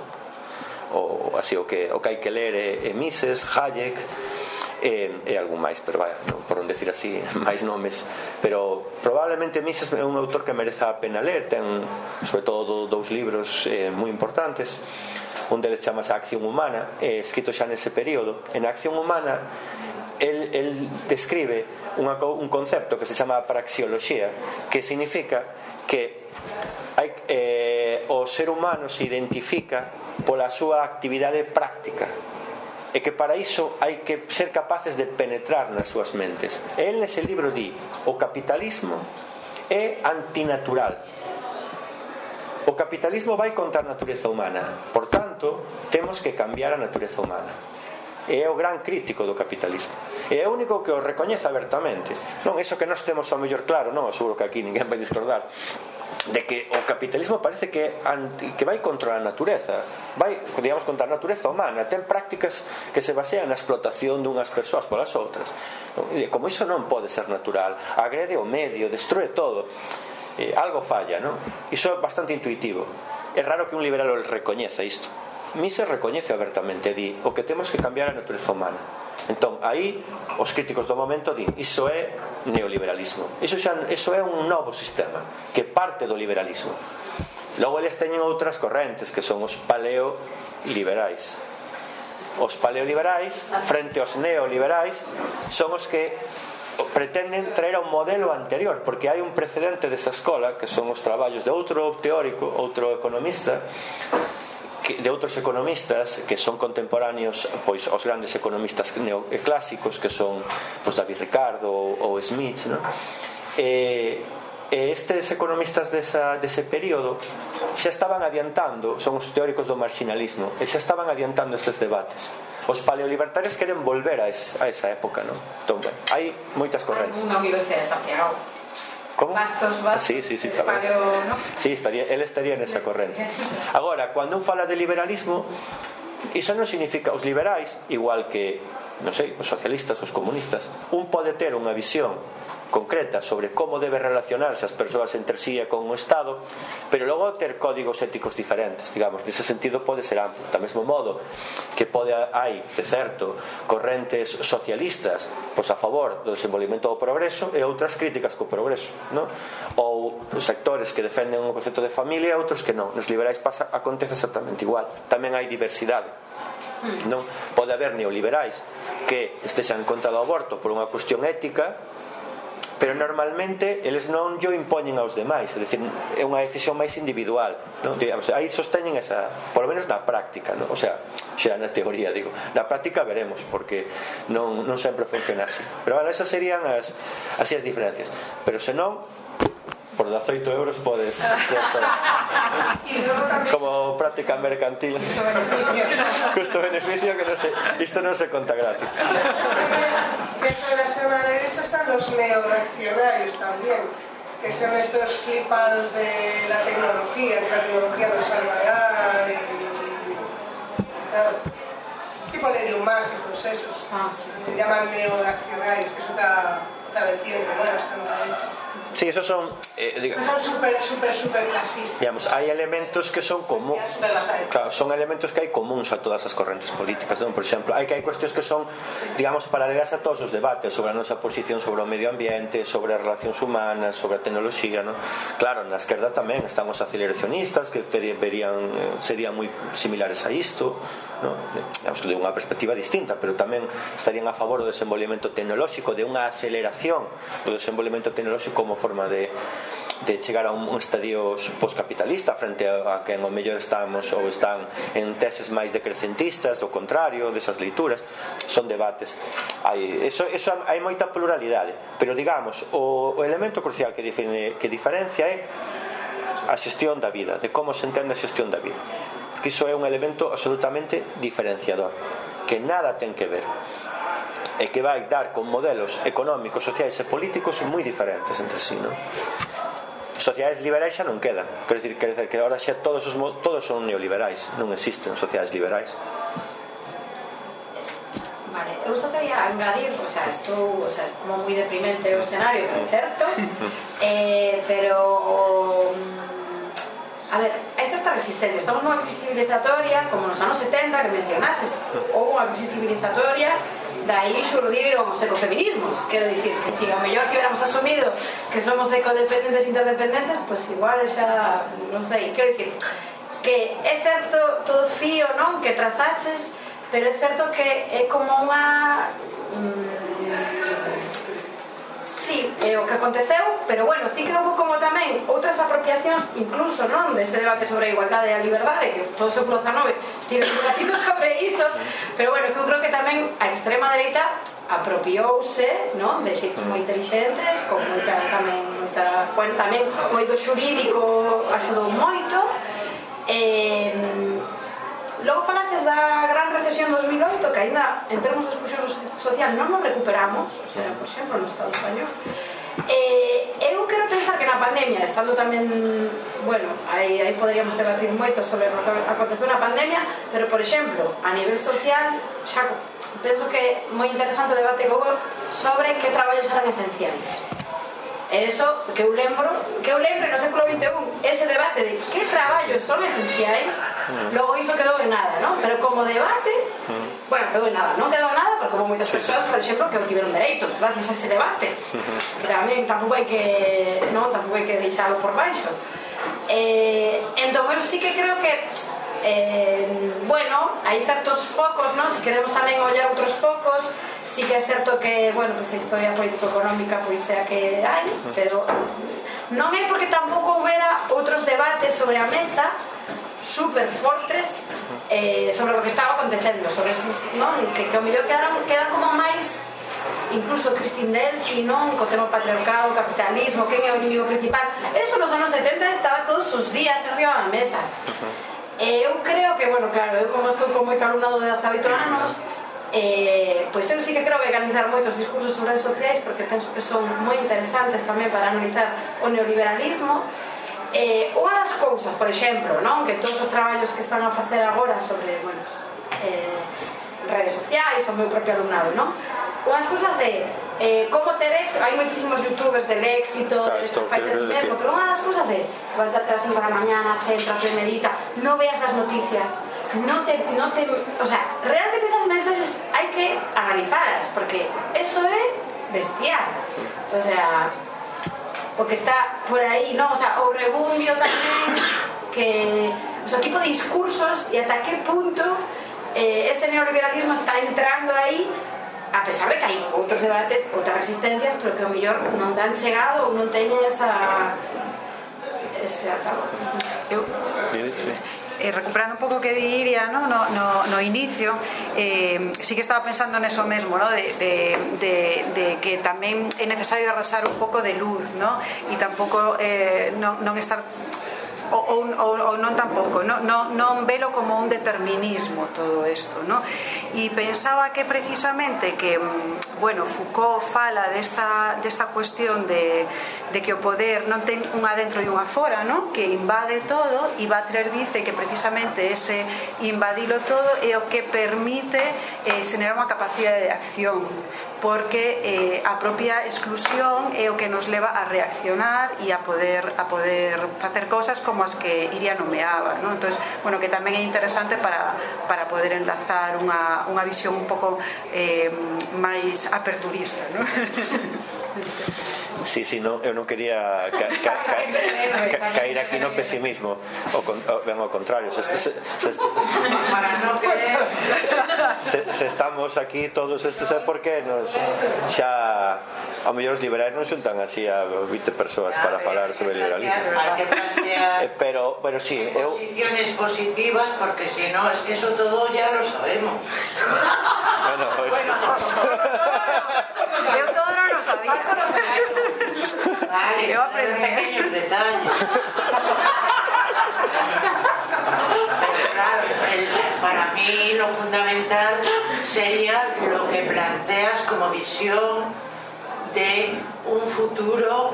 ou así o que hai que ler é Mises, Hayek e algún máis, pero vaya, non por non decir así máis nomes, pero probablemente Mises é un autor que mereza a pena ler. Ten sobre todo dous libros moi importantes. Un deles chamase A acción humana, escrito xa nese período. En A acción humana el describe un concepto que se chama praxeoloxía, que significa que o ser humano se identifica pola súa actividade práctica. e que para iso hai que ser capaces de penetrar nas súas mentes. El nese libro di: o capitalismo é antinatural. O capitalismo vai contra a natureza humana, por tanto, temos que cambiar a natureza humana. É o gran crítico do capitalismo, é o único que o recoñece abertamente. Non iso que nós temos ao mellor claro, non, seguro que aquí ninguén vai discordar de que o capitalismo parece que vai contra a natureza, vai, digamos, contra a natureza humana, ten prácticas que se basean na explotación dunhas persoas polas outras. Como iso non pode ser natural, agrede o medio, destrue todo, algo falla, non? Iso é bastante intuitivo. É raro que un liberal o recoñeza isto. Mises recoñece abertamente, di: o que temos que cambiar a natureza humana. Entón, aí os críticos do momento din: iso é neoliberalismo, iso é un novo sistema que parte do liberalismo. Logo eles teñen outras correntes que son os paleoliberais. Os paleoliberais, frente aos neoliberais, son os que pretenden traer a un modelo anterior, porque hai un precedente desa escola, que son os traballos de outro teórico, outro economista, de outros economistas que son contemporáneos, pois, aos grandes economistas clásicos, que son, pois, David Ricardo ou Smith, non? Estes economistas dese período xa estaban adiantando, son os teóricos do marxinalismo, e xa estaban adiantando estes debates. Os paleolibertarios queren volver a esa época, non? Entón, bueno, hai moitas correntes. Unha Universidade de Santiago. ¿Cómo? Bastos, sí, paleo, ¿no? Sí, él estaría nesa corrente. Agora, cando un fala de liberalismo, iso non significa, os liberais, igual que, non sei, os socialistas, os comunistas, un pode ter unha visión concreta sobre como debe relacionarse as persoas entre sí e con o Estado, pero logo ter códigos éticos diferentes, digamos, nese sentido pode ser amplo. Do mesmo modo que hai, de certo, correntes socialistas pois a favor do desenvolvemento do progreso e outras críticas co progreso, non? Ou sectores que defenden o concepto de familia e outros que non. Nos liberais acontece exactamente igual. Tamén hai diversidade, non? Pode haber neoliberais que estexan en contra do aborto por unha cuestión ética, pero normalmente eles non yo impoñen aos demais, é dicir, é unha decisión máis individual, non? Digamos, aí sosteñen esa, por lo menos na práctica, non? O sea, xa na teoría, digo, na práctica veremos, porque non sempre funciona así. Pero bueno, esas serían as diferencias. Pero senón, por 18 euros podes como práctica mercantil, custo-beneficio, que non sei, isto non se conta gratis. Dentro de la extrema derecha están los neoreaccionarios también, que son estos flipados de la tecnología, que la tecnología nos salvará, tipo Lerium Mas y todos esos, se llaman neoreaccionarios, que eso está vertiente, ¿no?, de la extrema derecha. Sí, esos son son super clasistas. Digamos, hai elementos que son como, claro, son elementos que hai comuns a todas as correntes políticas, non? Por exemplo, hai cuestións que son, digamos, paralelas a todos os debates sobre a nosa posición sobre o medio ambiente, sobre as relacións humanas, sobre a tecnoloxía, non? Claro, na esquerda tamén están os aceleracionistas, que serían moi similares a isto, non? Digamos que de unha perspectiva distinta, pero tamén estarían a favor do desenvolvemento tecnolóxico, de unha aceleración do desenvolvemento tecnolóxico como forma de chegar a un estadio postcapitalista frente a que en o mellor estamos ou están en teses máis decrecentistas, do contrario, desas leituras. Son debates. Hai moita pluralidade, pero digamos, o elemento crucial que diferencia é a xestión da vida, de como se entende a xestión da vida, porque iso é un elemento absolutamente diferenciador, que nada ten que ver, e que vai dar con modelos económicos, sociais e políticos moi diferentes entre sí, non? Sociedades liberais xa non quedan, quero decir que agora xa todos son neoliberais, non existen sociedades liberais. Vale, eu só quería engadir, o sea, é como moi deprimente o escenario, que é certo, pero a ver, hai certa resistencia. Estamos nunha crisis civilizatoria, como nos anos 70 que mencionaches, houve unha crisis civilizatoria, daí xurdiron os ecofeminismos. Quero dicir que si ao mellor que hubiéramos asumido que somos ecodependentes e interdependentes, pues igual xa, non sei, quero dicir que é certo todo fío, non, que trazaches, pero é certo que é como unha o que aconteceu, pero bueno, sí que houve como tamén outras apropiacións incluso, non, dese debate sobre a igualdade e a liberdade, que todo o século XIX estive debatindo sobre iso, pero bueno, que eu creo que tamén a extrema dereita apropiouse, non, de xeitos moi inteligentes, con moita tamén, bueno, tamén moito xurídico axudou moito. Logo falaches da gran recesión 2008, que ainda en termos de exclusión social non nos recuperamos, o sea, por exemplo, no Estado español. Eu quero pensar que na pandemia, estando tamén, bueno, aí poderíamos debatir moito sobre o que aconteceu na pandemia, pero, por exemplo, a nivel social, xa penso que é moi interesante o debate que houve sobre que traballos eran esenciais. Eso que eu lembro no século XXI, ese debate de que traballos son esenciais, logo iso quedou en nada, non? Pero como debate, bueno, quedou en nada, non quedou en nada porque houve moitas persoas, por exemplo, que obtiveron dereitos gracias a ese debate, que tamén tampouco hai que deixalo por baixo. Entón, eu sí que creo que bueno, hai certos focos, non? Se queremos tamén ollar outros focos, sí que é certo que, bueno, pues a historia político-económica pois é a que hai, pero non é porque tampouco houbera outros debates sobre a mesa super fortes sobre o que estaba acontecendo, sobre esos, non? Que ao mellor quedan como máis, incluso Christine Delphi, non? Co tema patriarcado, capitalismo, quen é o inimigo principal, eso nos anos 70 estaba todos os días arriba da mesa. Eu creo que, bueno, claro, eu como estou con moito alumnado de 18 anos, pois eu sí que creo que hai que analizar moitos discursos sobre redes sociais, porque penso que son moi interesantes tamén para analizar o neoliberalismo. Unha das cousas, por exemplo, non, que todos os traballos que están a facer agora sobre, bueno, redes sociais, o meu propio alumnado, non? Unhas cousas é como ter éxito, hai moitísimos youtubers del éxito, del fighter mesmo, pero unha das cousas é levantarte a las 5 da mañana, centrate, medita, non veas as noticias, non te, o sea, realmente esas mensajes hai que analizalas, porque eso é bestial, o sea, o que está por aí, non, o sea, o rebundio tamén, que, o sea, tipo de discursos e ata que punto ese neoliberalismo está entrando aí, a pesar de que hai outros debates, outras resistencias, pero que ao mellor non dan chegado ou non teñen ese altavoz. Recuperando un pouco o que diría, ¿no? No inicio, sí que estaba pensando neso mesmo, ¿no? de que tamén é necesario arrasar un pouco de luz, ¿no? E tampouco non estar ou non tampouco, non velo como un determinismo todo isto, ¿no? E pensaba que precisamente que, bueno, Foucault fala desta cuestión de que o poder non ten unha dentro e unha fora, ¿no? Que invade todo, e Butler dice que precisamente ese invadilo todo é o que permite xenerar unha capacidade de acción, porque a propia exclusión é o que nos leva a reaccionar e a poder facer cousas como as que Iria nomeaba, ¿no? Entonces, bueno, que tamén é interesante para poder enlazar unha visión un pouco máis aperturista, ¿no? Sí, no, eu non quería caer aquí no pesimismo, ben ao contrario, se estamos aquí todos estes é porque xa ao mellor os liberais non xuntan así a 20 persoas para falar sobre liberalismo, hai que plantear pero sí, posiciones positivas, porque si no, es que eso todo ya lo sabemos. Bueno, eu todo non lo sabía. Vale, eu aprendí pequeños detalles. Pero claro, para mí lo fundamental sería lo que planteas como visión de un futuro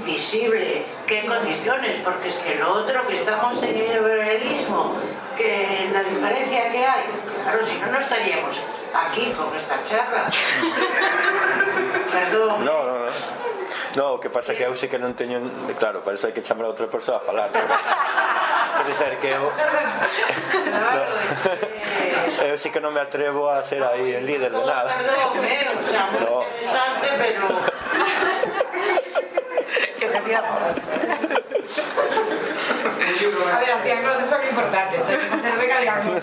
visible. ¿Qué condiciones? Porque es que lo otro, que estamos en el liberalismo, que la diferencia que hay, claro, si no, no estaríamos aquí con esta charla. Perdón. No, o que pasa que eu sí que non teño, claro, para eso hai que chamar a outra persoa a falar, pero quer dizer que eu sí que non me atrevo a ser aí el líder de nada. Perdón, o sea, muy interesante, pero que te tira por eso. A ver, as diagnoses son importantes, hai que facer recargando.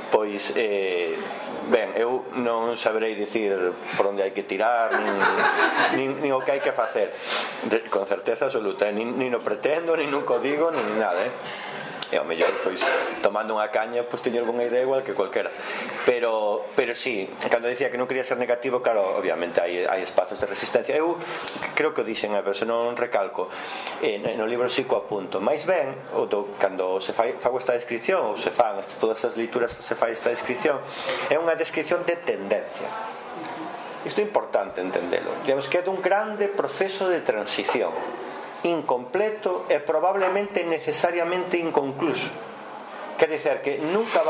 Pois, ben, eu non saberei dicir por onde hai que tirar nin o que hai que facer con certeza absoluta, nin o pretendo, nin nunca o digo, nin nada, e ao mellor, pois, tomando unha caña, pois teño algunha idea igual que cualquera, pero sí, cando dicía que non quería ser negativo, claro, obviamente hai espazos de resistencia. Eu creo que o dixen, pero se non recalco, no libro sí co apunto, máis ben, cando se fago esta descripción, ou se fan todas as leituras que se fai esta descripción, é unha descripción de tendencia. Isto é importante entendelo. Digamos que é dun grande proceso de transición incompleto e probablemente necesariamente inconcluso. Quer dizer que nunca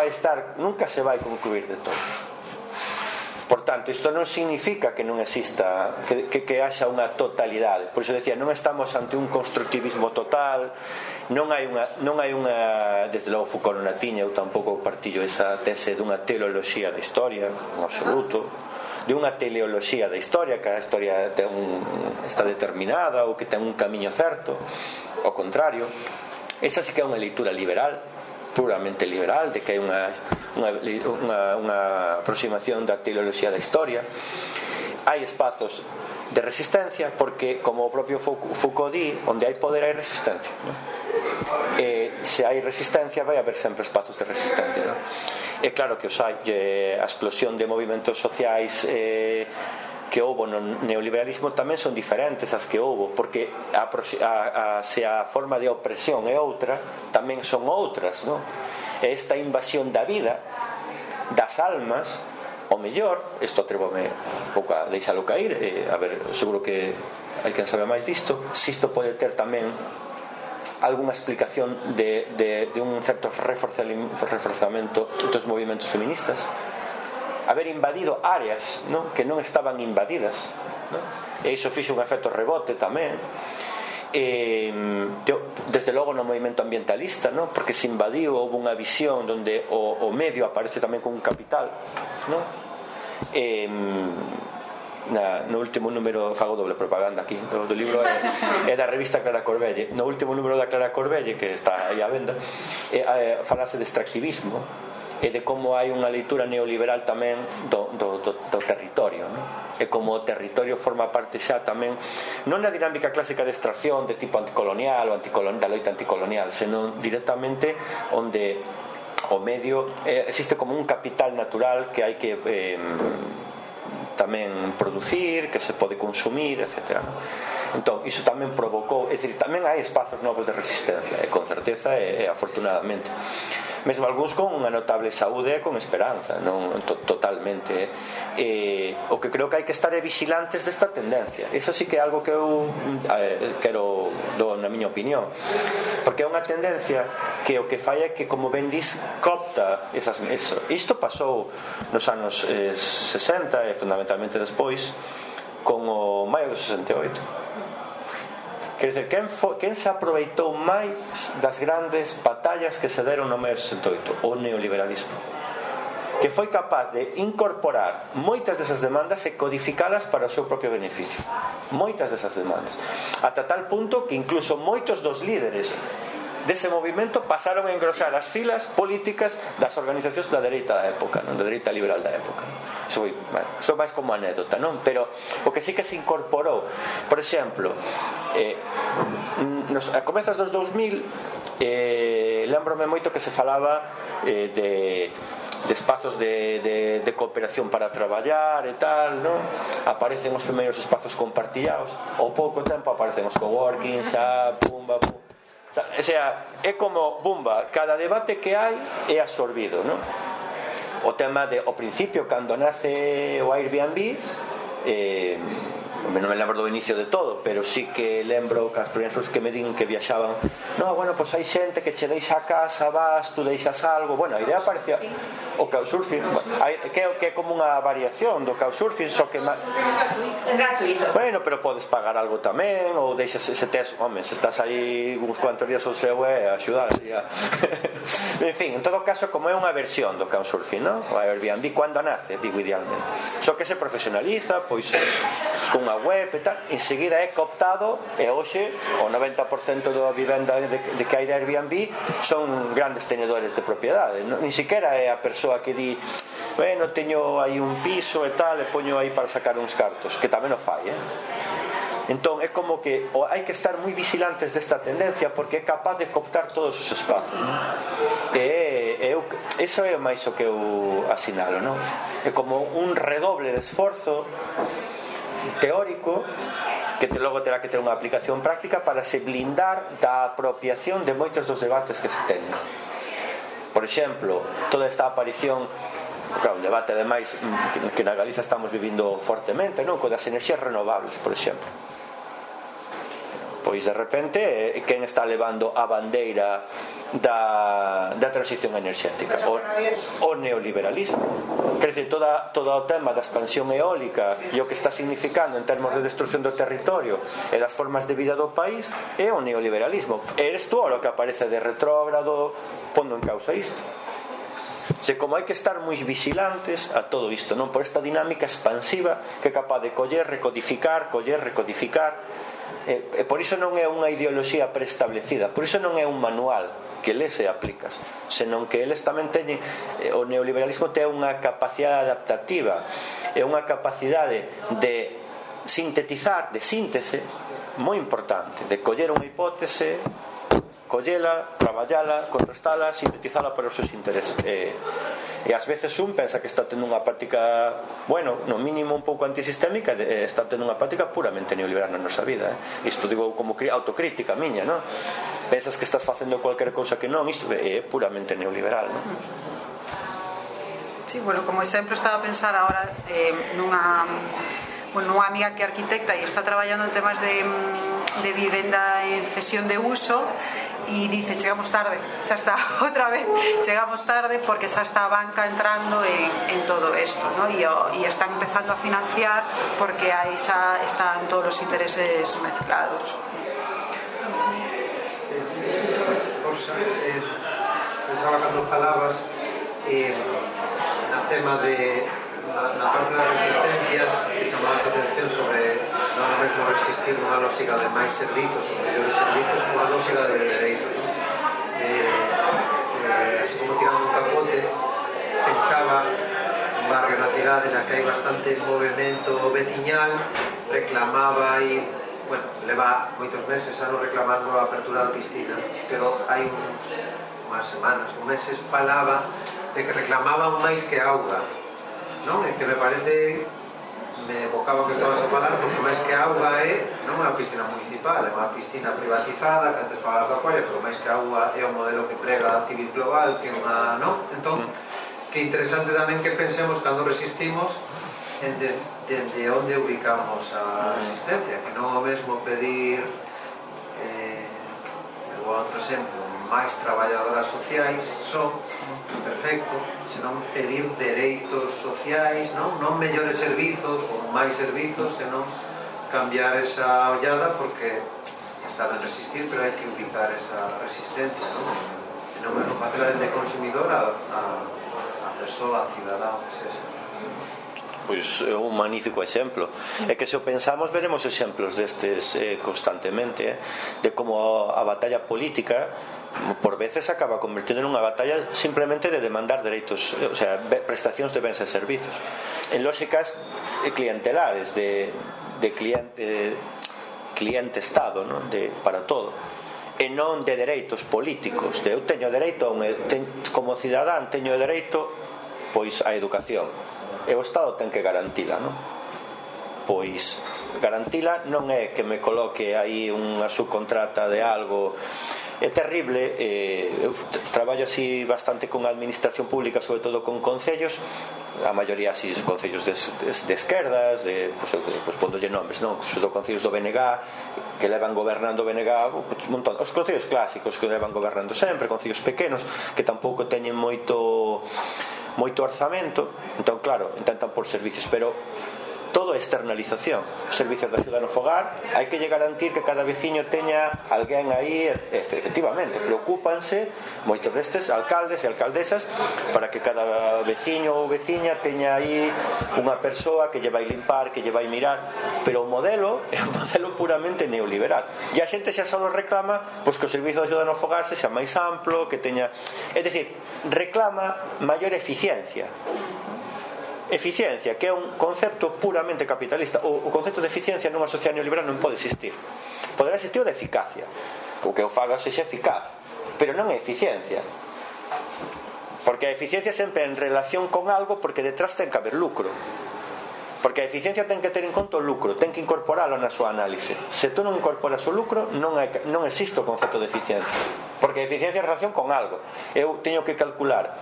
se vai concluir de todo. Por tanto, isto non significa que non exista, que haxa unha totalidade. Por iso decía, non estamos ante un constructivismo total, non hai unha, desde logo Foucault non a tiña, eu tampouco partillo esa tese dunha teleoloxía da historia, en absoluto, de unha teleoloxía da historia, que a historia está determinada ou que ten un camiño certo. Ao contrario, esa sí que é unha leitura liberal, puramente liberal, de que hai unha aproximación da teleoloxía da historia. Hai espazos de resistencia porque, como o propio Foucault di, onde hai poder hai resistencia, non? Se hai resistencia vai haber sempre espazos de resistencia, non? É claro que os hai, a explosión de movimentos sociais que houbo no neoliberalismo tamén son diferentes as que houbo, porque se a forma de opresión é outra, tamén son outras, non? Esta invasión da vida, das almas, o mellor, isto atrévome un pouco a deixalo cair, a ver, seguro que hai quen sabe máis disto, se isto pode ter tamén algunha explicación de un certo reforzamento dos movimentos feministas, haber invadido áreas, non? Que non estaban invadidas, non? E iso fixo un efecto rebote tamén, desde logo no movimento ambientalista, non? Porque se invadiu, houve unha visión onde o medio aparece tamén como un capital, non? No último número, fago doble propaganda aquí do libro, é da revista Clara Corbelle. No último número da Clara Corbelle, que está aí á venda, falase de extractivismo e de como hai unha leitura neoliberal tamén do territorio, non? E como o territorio forma parte xa tamén non na dinámica clásica de extracción de tipo anticolonial ou da loita anticolonial, senón directamente onde o medio existe como un capital natural que hai que tamén producir, que se pode consumir, etc. Entón, iso tamén provocou, é dicir, tamén hai espazos novos de resistencia, e con certeza e afortunadamente, mesmo algúns con unha notable saúde e con esperanza, non totalmente. O que creo que hai que estar é vigilantes desta tendencia. Iso sí que é algo que eu quero do na miña opinión, porque é unha tendencia que o que fai é que, como ben dis, copta esas mesas. Isto pasou nos anos 60 e fundamentalmente despois con o maio do 68. Quer dizer, quen se aproveitou máis das grandes batallas que se deron no maio do 68? O neoliberalismo, que foi capaz de incorporar moitas desas demandas e codificalas para o seu propio beneficio. Moitas desas demandas, ata tal punto que incluso moitos dos líderes dese movimento pasaron a engrosar as filas políticas das organizacións da dereita da época, non? Da dereita liberal da época. Iso foi, bueno, iso máis como anécdota, non? Pero o que sí que se incorporou, por exemplo, a comezos dos 2000, lembrome moito que se falaba de espazos de cooperación para traballar e tal, non? Aparecen os primeiros espazos compartillados, ao pouco tempo aparecen os coworking, xa, pumba, pum. O sea, é como, bumba, cada debate que hai é absorbido, non? O tema ao principio, cando nace o Airbnb, non me lembro do inicio de todo, pero sí que lembro que as primeiras que me din que viaxaban, no, bueno, pois hai xente que che deixa a casa, vas, tú deixas algo. Bueno, a idea parecía o couchsurfing, que é como unha variación do couchsurfing, só que é gratuito. Bueno, pero podes pagar algo tamén, ou deixas, se estás aí uns cuantos días ao seu axudar. En fin, en todo caso, como é unha versión do couchsurfing, non? O Airbnb cando nace, digo idealmente. Só que se profesionaliza, pois con nunha web e tal, enseguida é cooptado e hoxe o 90% da vivenda de que hai de Airbnb son grandes tenedores de propiedade. Nin siquiera é a persoa que di bueno, teño aí un piso e tal e poño aí para sacar uns cartos, que tamén o fai, Entón é como que hai que estar moi vigilantes desta tendencia porque é capaz de cooptar todos os espazos, eso é máis o que eu asinalo, é como un redoble de esforzo teórico que logo terá que ter unha aplicación práctica para se blindar da apropiación de moitos dos debates que se teñen. Por exemplo, toda esta aparición, claro, un debate ademais que na Galiza estamos vivindo fortemente, co das enerxías renovables, por exemplo. Pois de repente quen está levando a bandeira da transición enerxética? O neoliberalismo. Quer dizer, todo o tema da expansión eólica e o que está significando en termos de destrucción do territorio e das formas de vida do país é o neoliberalismo. Eres tú o que aparece de retrógrado pondo en causa isto. Como hai que estar moi vigilantes a todo isto, por esta dinámica expansiva que é capaz de coller, recodificar e por iso non é unha ideoloxía preestablecida, por iso non é un manual que lees e aplicas, senón que eles tamén teñen, o neoliberalismo ten unha capacidade adaptativa e unha capacidade de sintetizar, de síntese moi importante, de coller unha hipótese, collela, traballala, contrastala, sintetizala para os seus intereses e ás veces un pensa que está tendo unha práctica, no mínimo un pouco antisistémica, está tendo unha práctica puramente neoliberal na nosa vida, isto digo como autocrítica miña, pensas que estás facendo cualquier cousa que non, isto é puramente neoliberal, Sí, como exemplo estaba a pensar agora nunha amiga que é arquitecta e está traballando en temas de vivenda en cesión de uso e dice, chegamos tarde, xa está outra vez, chegamos tarde porque xa está a banca entrando en todo isto, e están empezando a financiar porque aí xa están todos os intereses mezclados. Pensaba cando falabas no tema de na parte das resistencias que chamabas a atención sobre non mesmo resistir unha lógica de máis servizos ou mellores servizos como a lógica de dereitos. Así como tirando un capote, pensaba un barrio na cidade na que hai bastante movimento veciñal, reclamaba e leva moitos meses anos reclamando a apertura da piscina, pero hai unhas semanas, meses falaba de que reclamaban máis que auga. É que me parece, me evocaba o que estabas a falar, porque máis que auga non é unha piscina municipal, é unha piscina privatizada, que antes falabas da colla, pero máis que auga é o modelo que prega a Civil Global, que é unha, entón, que interesante tamén que pensemos cando resistimos dende onde ubicamos a resistencia, que non é o mesmo pedir, outro exemplo, máis traballadoras sociais perfecto, senón pedir dereitos sociais, non mellores servizos ou máis servizos, senón cambiar esa ollada porque está ben resistir, pero hai que ubicar esa resistencia, non é facela dende consumidor a persoa, a cidadán, que sexa. Pois é un magnífico exemplo. É que se o pensamos veremos exemplos destes constantemente, de como a batalla política por veces acaba convertindo en unha batalla simplemente de demandar dereitos, o sea, prestacións de bens e servizos en lógicas clientelares de cliente-estado, para todo, e non de dereitos políticos, de eu teño dereito como cidadán teño dereito pois a educación e o Estado ten que garantila, pois garantila non é que me coloque aí unha subcontrata de algo. É terrible, eu traballo así bastante con a administración pública, sobre todo con concellos, a maioría así concellos de esquerdas, pois pondolle nombres, sobre todo concellos do BNG que levan gobernando o BNG un montón, os concellos clásicos que levan gobernando sempre, concellos pequenos que tampouco teñen moito orzamento, entón claro, intentan por servicios, pero todo é externalización. Os servicios de axuda no fogar hai que lle garantir que cada veciño teña alguén aí, efectivamente, preocúpanse moitos destes alcaldes e alcaldesas para que cada veciño ou veciña teña aí unha persoa que lle vai limpar, que lle vai mirar, pero o modelo é un modelo puramente neoliberal e a xente xa só reclama pois que o servicio de axuda no fogar sexa máis amplo, que teña, é dicir, reclama maior eficiencia, que é un concepto puramente capitalista. O concepto de eficiencia nunha sociedade neoliberal non pode existir. Poderá existir o de eficacia, o que o faga sexa eficaz, pero non é eficiencia, porque a eficiencia sempre é en relación con algo, porque detrás ten que haber lucro, porque a eficiencia ten que ter en conta o lucro, ten que incorporalo na súa análise. Se tú non incorporas o lucro, non existe o concepto de eficiencia, porque a eficiencia é en relación con algo. Eu teño que calcular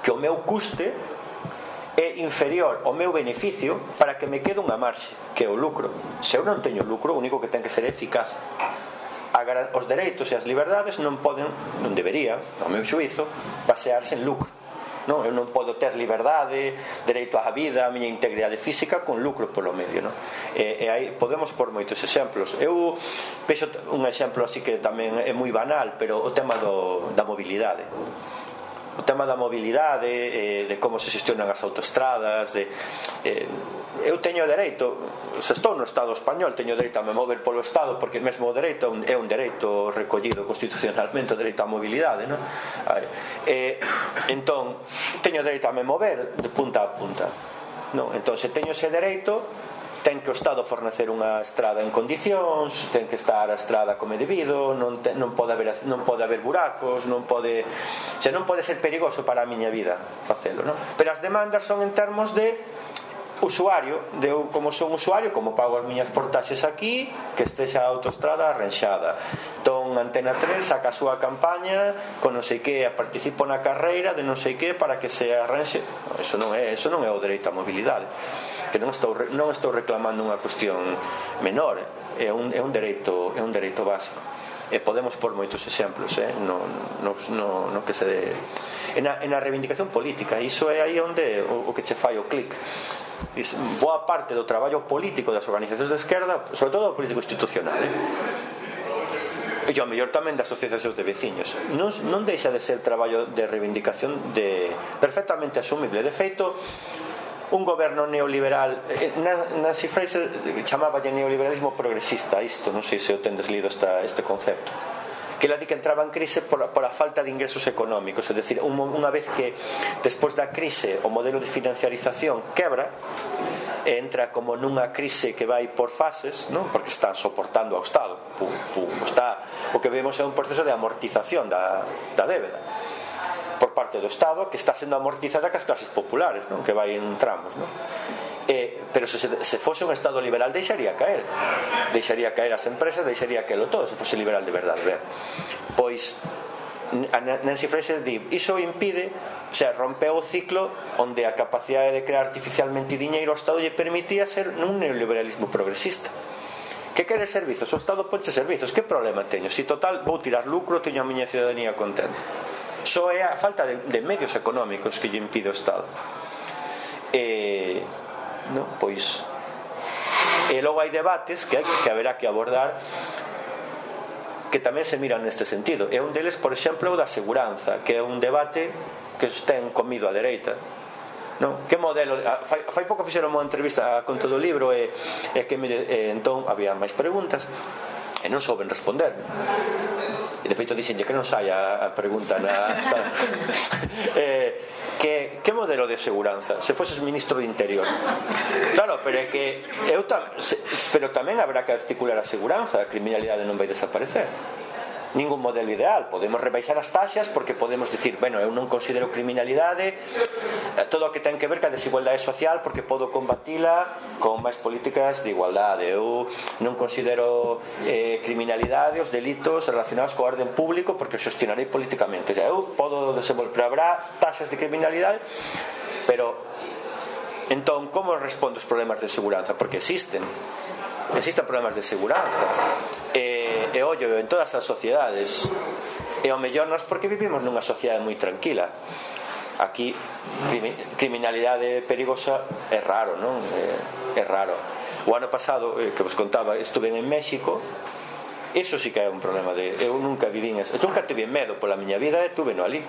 que o meu custe é inferior ao meu beneficio para que me quede unha marxe, que é o lucro. Se eu non teño lucro, o único que ten que ser eficaz. Os dereitos e as liberdades non deberían, ao meu xuízo, basearse en lucro. Non, eu non podo ter liberdade, dereito á vida, a miña integridade física con lucro polo medio, non? E aí podemos por moitos exemplos. Eu vexo un exemplo así que tamén é moi banal, pero o tema da mobilidade. O tema da mobilidade, de como se xestionan as autoestradas, eu teño dereito, se estou no Estado español, teño dereito a me mover polo Estado, porque mesmo o dereito é un dereito recollido constitucionalmente, o dereito á mobilidade, non? Entón, teño dereito a me mover de punta a punta, non? Entón, se teño ese dereito, ten que o Estado fornecer unha estrada en condicións, ten que estar a estrada como é debido, non pode haber buracos, non pode ser perigoso para a miña vida facelo, non? Pero as demandas son en termos de usuario, de eu como son usuario, como pago as miñas portaxes aquí, que estexa a autoestrada arranxada. Entón Antena 3 saca a súa campaña con non sei que, participo na carreira de non sei que para que se arranxe. Eso non é o dereito á mobilidade, que non estou reclamando unha cuestión menor, é un dereito básico. E podemos por moitos exemplos, no que se na reivindicación política. Iso é aí onde o que che fai o clic. Boa parte do traballo político das organizacións de esquerda, sobre todo o político institucional, e ao mellor tamén das asociacións de veciños, non deixa de ser traballo de reivindicación perfectamente asumible. De feito, un goberno neoliberal, Nancy Fraser chamaballe neoliberalismo progresista isto, non sei se o tendes lido este concepto, que ela di que entraba en crise por a falta de ingresos económicos, é dicir, unha vez que despois da crise o modelo de financiarización quebra, entra como nunha crise que vai por fases, non? Porque está soportando ao Estado, o que vemos é un proceso de amortización da débeda por parte do Estado, que está sendo amortizada cas clases populares, non? Que vai en tramos, non? Pero se fose un Estado liberal deixaría caer as empresas, deixaría caer todo, se fose liberal de verdade. Pois Nancy Fraser di, iso impide, o sea, rompeu o ciclo onde a capacidade de crear artificialmente diñeiro ao Estado lle permitía ser un neoliberalismo progresista. Que quere servizos? O Estado ponche servizos, que problema teño? Si total vou tirar lucro, teño a miña ciudadanía contenta. Só é a falta de medios económicos que lle impide o Estado. Pois e logo hai debates que haberá que abordar que tamén se miran neste sentido, e un deles, por exemplo, o da seguranza, que é un debate que ten comido a dereita, non? Que modelo, fai pouco fixeron unha entrevista con todo o libro e que entón había máis preguntas e non souben responder. E de feito dixenlle que non saia a pregunta que modelo de seguranza se foses ministro de Interior. Claro, pero é que pero tamén habrá que articular a seguranza. A criminalidade non vai desaparecer, ningún modelo ideal. Podemos rebaixar as taxas porque podemos dicir, bueno, eu non considero criminalidade todo o que ten que ver ca desigualdade social porque podo combatila con máis políticas de igualdade. Eu non considero criminalidade os delitos relacionados co orden público porque os xestionarei políticamente. O sea, eu podo desenvolver, pero habrá taxas de criminalidade. Pero entón, como respondo os problemas de seguranza? Porque existen problemas de seguranza e ollo en todas as sociedades, e ao mellor nós porque vivimos nunha sociedade moi tranquila. aquí criminalidade perigosa é raro, non? É raro. O ano pasado, que vos contaba, estuve en México. Eso sí que é un problema de... Eu nunca vivín eso. Eu nunca tive medo pola miña vida e tuve no ali.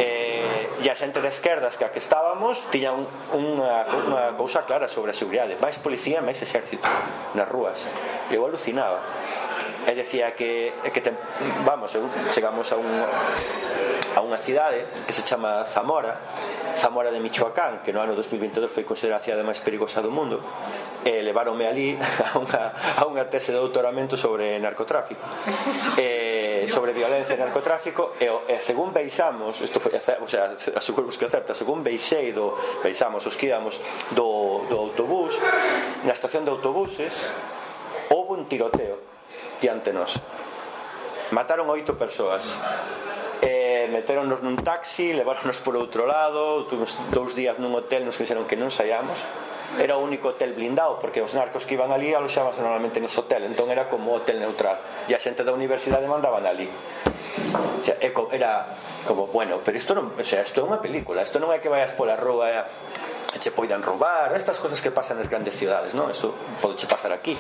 E a xente de esquerdas que a que estábamos tiña unha cousa clara sobre a seguridade. Máis policía, máis exército nas rúas. Eu alucinaba. E decía que vamos, chegamos a unha cidade que se chama Zamora de Michoacán, que no ano 2022 foi considerada a cidade máis perigosa do mundo, e leváronme ali a unha tese de doutoramento sobre narcotráfico, sobre violencia e narcotráfico, e según veixamos, isto foi, o sea, aseguro que é certo, según veixamos os que íbamos do autobús, na estación de autobuses houve un tiroteo diante nos. Mataron 8 persoas. Meteronnos nun taxi, leváronnos por outro lado. Tuvimos 2 días nun hotel, nos dixeron que non saíamos. Era o único hotel blindado, porque os narcos que iban ali aloxábanse normalmente nese hotel, entón era como hotel neutral, e a xente da universidade mandaban ali. O sea, era como, bueno, pero isto non, o sea, isto é unha película, isto non é que vayas pola rúa e che poidan roubar, estas cosas que pasan nas grandes cidades, non? Eso pode che pasar aquí.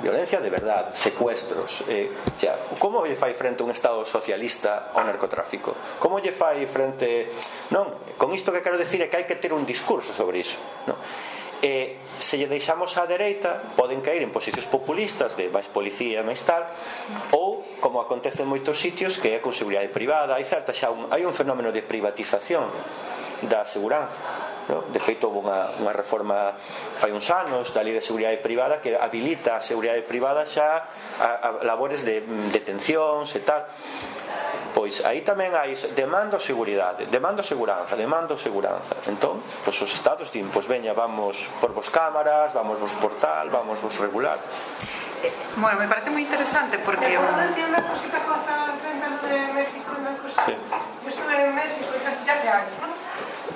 Violencia de verdad, secuestros, como lle fai frente un estado socialista ao narcotráfico? Como lle fai frente... Non, con isto que quero decir é que hai que ter un discurso sobre iso, non? Se lle deixamos á dereita poden caer en posicións populistas de máis policía, máis tal, ou como acontece en moitos sitios, que é con seguridade privada. Hai un fenómeno de privatización da seguranza. De feito, houve unha reforma fai uns anos da lei de seguridade privada que habilita a seguridade privada xa a labores de detencións e tal. Pois aí tamén hai demando seguridade, demando seguranza. Entón, pois os estados din, pois veña, vamos por vos cámaras, vamos vos por tal, vamos vos regular. Bueno, me parece moi interesante porque... Tiene una cosita que estaba enfrente de México, una cosa. Sí. Yo estuve en México ya hace años, ¿no?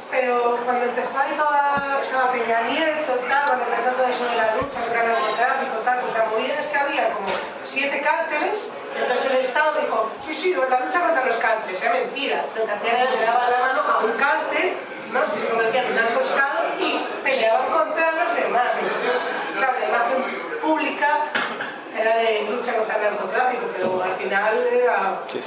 Pero cuando empezó ahí estaba Peña Nieto y tal, cuando empezó todo eso de la lucha contra el narcotráfico y tal, pues la movida es que había como 7 cárteles, entonces el Estado dijo, sí, la lucha contra los cárteles, es mentira, lo que hacían es que le daban la mano a un cártel, ¿no? Si se convertían en narcotráfico y peleaban contra los demás. Entonces, claro, la imagen pública era de lucha contra el narcotráfico, pero al final era... Sí.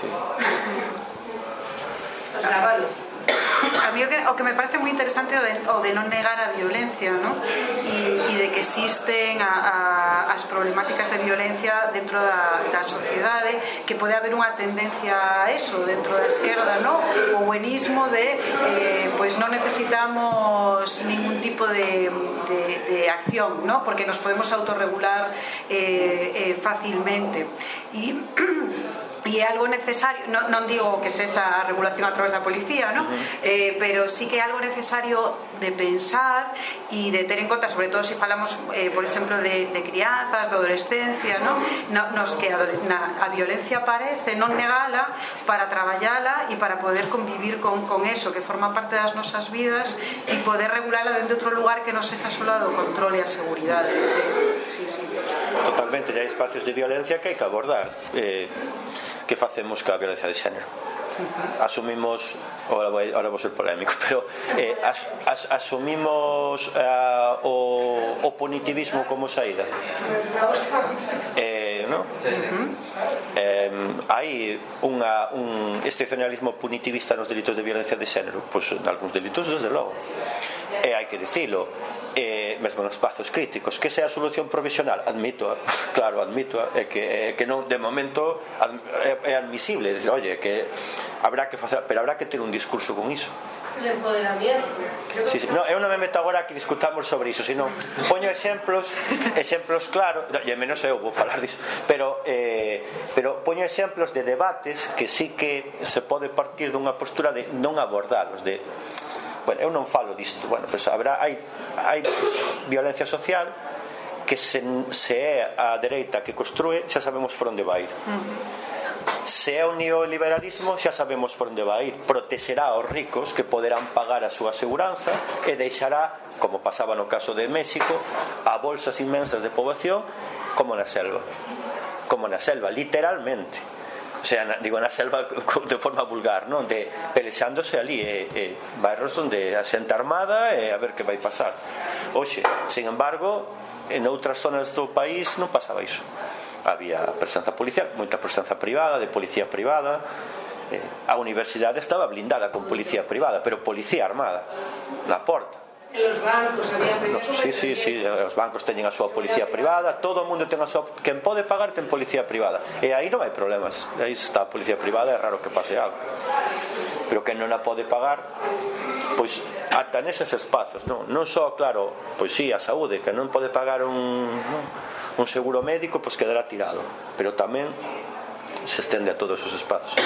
Pues la mano. A mí o que me parece moi interesante o de non negar a violencia, ¿no? E de que existen as problemáticas de violencia dentro da sociedade, que pode haber unha tendencia a eso dentro da esquerda, ¿no? O buenismo de pues non necesitamos ningún tipo de acción, ¿no? Porque nos podemos autorregular fácilmente e é algo necesario, non digo que se esa regulación a través da policía, ¿no? Pero sí que é algo necesario de pensar e de ter en conta, sobre todo se falamos, por exemplo, de crianzas, de adolescencia, ¿no? Nos que a violencia aparece, non negala para traballala e para poder convivir con eso, que forma parte das nosas vidas, e poder regulala dentro de outro lugar que non sexa só do control e a seguridade. Sí. Totalmente, hai espacios de violencia que hai que abordar. Que facemos ca violencia de xénero? Asumimos, ahora vou ser polémico, pero asumimos o punitivismo como saída, ¿no? Hai un excepcionalismo punitivista nos delitos de violencia de xénero, pois en algúns delitos desde logo, e hai que dicilo, mesmo nos espazos críticos. Que sea a solución provisional? Admito, é que non, de momento é admisible decir, oye, que habrá que facer, pero habrá que ter un discurso con iso. El empoderamiento. Sí. No, eu non me meto agora que discutamos sobre iso, sino poño exemplos claros, e menos eu vou falar diso, pero poño exemplos de debates que sí que se pode partir dunha postura de non abordalos, de bueno, eu non falo disto, bueno, pois hai violencia social que se é a dereita que construe, xa sabemos por onde vai ir. Se é o neoliberalismo, xa sabemos por onde vai ir. Protexerá aos ricos que poderán pagar a súa seguranza e deixará, como pasaba no caso de México, a bolsas inmensas de poboación como na selva, literalmente. o sea, digo, na selva de forma vulgar, non? De pelexándose ali, bairros onde a xente armada e a ver que vai pasar. Oxe, sin embargo, en outras zonas do país non pasaba iso. Había presenza policial, moita presenza privada, de policía privada. A universidade estaba blindada con policía privada, pero policía armada na porta. En los bancos había Sí, os bancos teñen a súa policía privada, todo o mundo ten a súa, quen pode pagar ten policía privada, e aí non hai problemas, aí se está a policía privada é raro que pase algo, pero quen non a pode pagar, pois ata neses espazos, non só, claro, pois sí, a saúde, que non pode pagar un seguro médico, pois quedará tirado, pero tamén se estende a todos os espazos,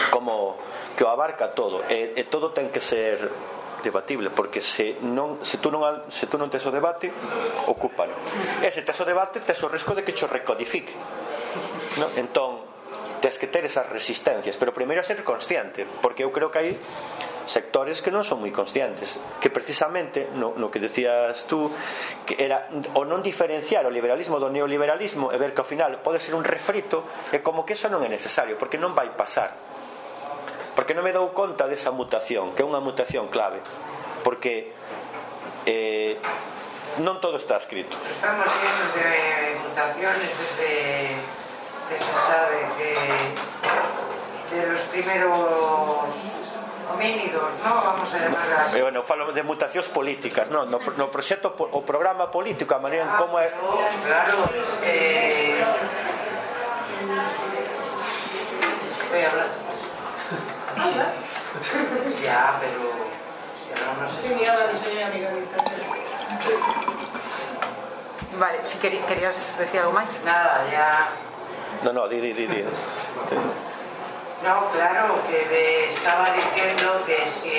como que o abarca todo, e todo ten que ser debatible, porque se tú non tes o debate, ocúpalo, e se tes o debate tes o risco de que cho recodifique, no? Entón tes que ter esas resistencias, pero primeiro ser consciente, porque eu creo que hai sectores que non son moi conscientes, que precisamente no que decías tú, que era o non diferenciar o liberalismo do neoliberalismo e ver que ao final pode ser un refrito, e como que eso non é necesario, porque non vai pasar, porque non me dou conta desa mutación, que é unha mutación clave, porque non todo está escrito. Estamos llenos de mutaciones desde que se sabe que de los primeros homínidos, ¿no? Vamos a llamarlas. Bueno, falo de mutacións políticas, no proxecto, o programa político, a maneira en como é. Claro, voy a hablar. Ya, pero no sé. Sí, mira, la soy amiga. Vale, si querías decir algo máis? Nada, ya. No, di. No, claro, que me estaba diciendo que si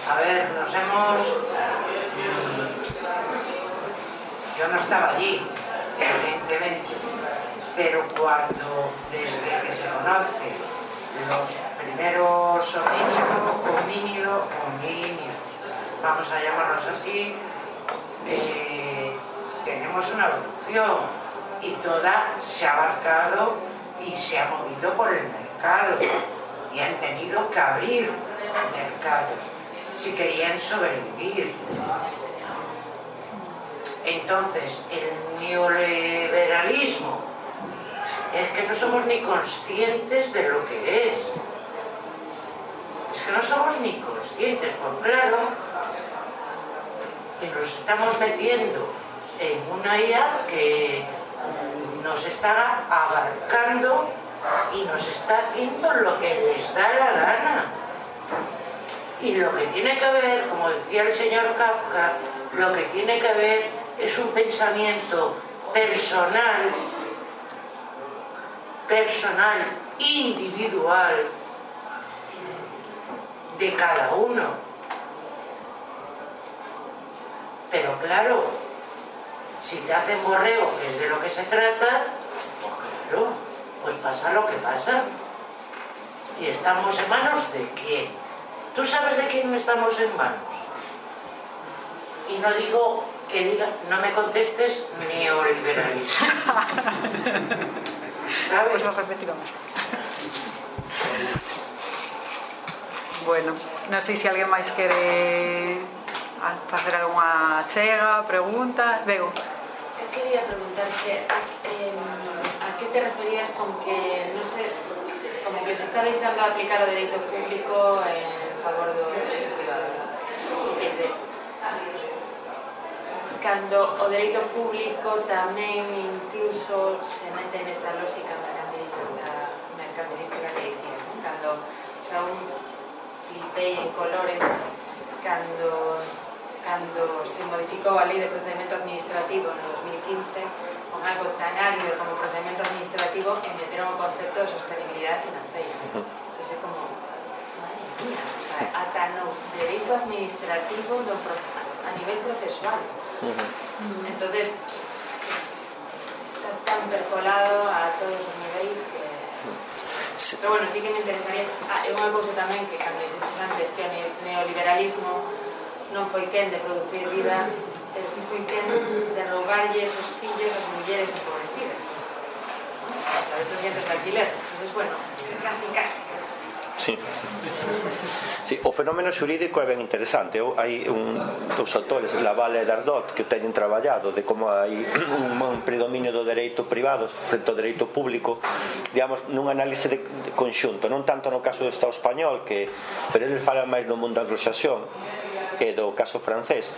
a ver, nos hemos. Yo no estaba allí, evidentemente, pero cuando, desde que se conoce los primeros homínidos, vamos a llamarlos así, tenemos una evolución y toda se ha abarcado y se ha movido por el mercado y han tenido que abrir mercados si querían sobrevivir. Entonces, el neoliberalismo es que no somos ni conscientes de lo que es. Es que no somos ni conscientes, por claro, que nos estamos metiendo en una IA que nos está abarcando y nos está haciendo lo que les da la gana. Y lo que tiene que haber, como decía el señor Kafka, lo que tiene que haber es un pensamiento personal, individual, de cada uno. Pero claro, si te hacen borreo, que es de lo que se trata, pues claro, pues pasa lo que pasa. Y estamos en manos de quién. ¿Tú sabes de quién estamos en manos? Y no digo que diga, no me contestes neoliberalismo. ¿Sabes? Pues repetiremos. Bueno, non sei se alguén máis quere facer algunha chega, pregunta. Bego. Eu quería preguntarte a que te referías con que, non sei, como que se está deixando aplicar o dereito público en favor do dereito privado. Cando o dereito público tamén incluso se mete nesa lógica mercantilística que dicía, ¿no? Cando xa un flipei en colores cando se modificou a lei de procedimento administrativo no 2015 con algo tan árido como procedimento administrativo e meteron o concepto de sostenibilidade financiera. Entón é como, madre mía, o sea, ata no dereito administrativo a nivel procesual. Entonces está tan percolado a todos os niveis que... Pero bueno, sí que me interesaría unha cousa tamén que cando dixetes antes que o neoliberalismo non foi quen de producir vida, pero sí foi quen de roubarlle os fillos ás mulleres empobrecidas. a través dos centros de alquiler. Entonces, bueno, casi. Sí. Sí, o fenómeno xurídico é ben interesante. Hai dos autores, Laval e Dardot, que o teñen traballado de como hai un predominio do dereito privado frente ao dereito público, digamos, nun análise de conxunto, non tanto no caso do Estado español, pero eles falan máis no mundo anglosaxón e do caso francés,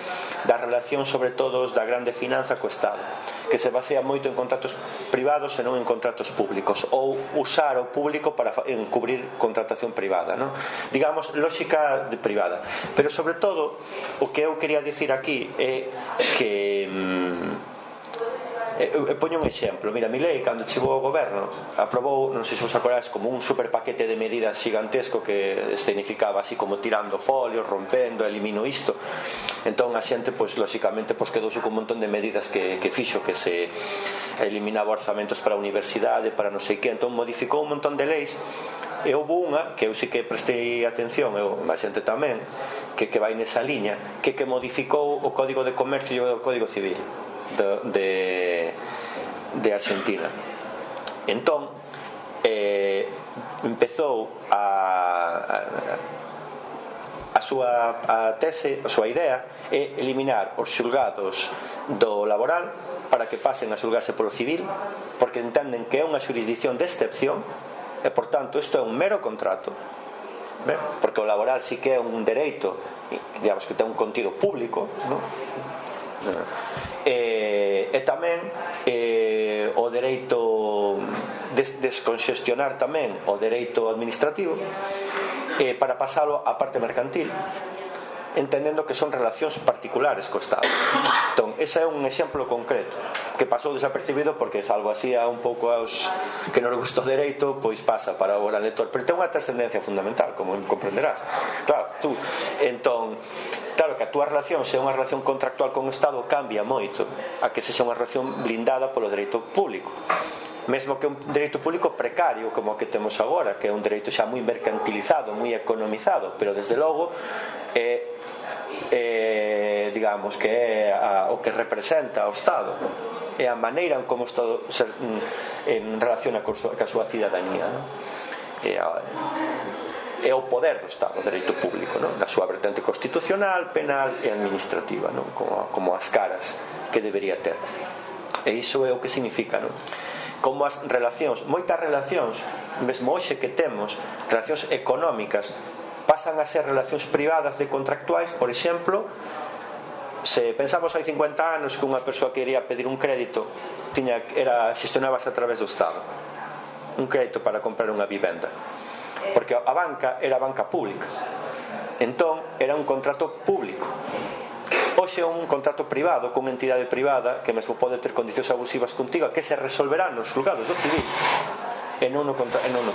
da relación sobre todo da grande finanza co Estado, que se basea moito en contratos privados e non en contratos públicos, ou usar o público para encubrir contratación privada, non? Digamos, lógica privada. Pero sobre todo, o que eu quería dicir aquí é que eu poño un exemplo. Mira, Milei, cando chegou ao goberno, aprobou, non sei se vos acordades, como un super paquete de medidas gigantesco que escenificaba así como tirando folios, rompendo, elimino isto. Entón a xente, pois lógicamente, pois quedouse con un montón de medidas que fixo, que se eliminaba orzamentos para a universidade, para non sei que. Entón modificou un montón de leis. E houve unha que eu sí que prestei atención, eu, a xente tamén, que vai nesa liña, que modificou o Código de Comercio e o Código Civil de Argentina. Entón empezou a súa tese, a súa idea é eliminar os xulgados do laboral para que pasen a xulgarse polo civil, porque entenden que é unha xurisdicción de excepción e, por tanto, isto é un mero contrato. Ben? Porque o laboral sí que é un dereito, digamos, que ten un contido público, non? E tamén o dereito desconxestionar tamén o dereito administrativo para pasalo á parte mercantil, entendendo que son relacións particulares co Estado. Entón, ese é un exemplo concreto que pasou desapercibido porque salvo así a un pouco aos que non les gusta o dereito, pois pasa para o gran lector, pero ten unha trascendencia fundamental, como comprenderás. Claro, tú, entón, claro que a túa relación, se é unha relación contractual con o Estado, cambia moito a que se xa unha relación blindada polo dereito público, mesmo que un dereito público precario como o que temos agora, que é un dereito xa moi mercantilizado, moi economizado, pero desde logo digamos que é o que representa o Estado, é a maneira en como o Estado en relaciona ca súa cidadanía, non? É o poder do Estado, o dereito público, non? Na súa vertente constitucional, penal e administrativa, non? Como as caras que debería ter. E iso é o que significa, non? Como as relacións, moitas relacións, mesmo hoxe que temos relacións económicas, pasan a ser relacións privadas de contractuais. Por exemplo, se pensamos hai 50 anos que unha persoa que iría pedir un crédito xestionábase a través do Estado, un crédito para comprar unha vivenda, porque a banca era a banca pública, entón era un contrato público. Hoxe é un contrato privado con entidade privada que mesmo pode ter condicións abusivas contigo, que se resolverán nos xulgados do civil e non no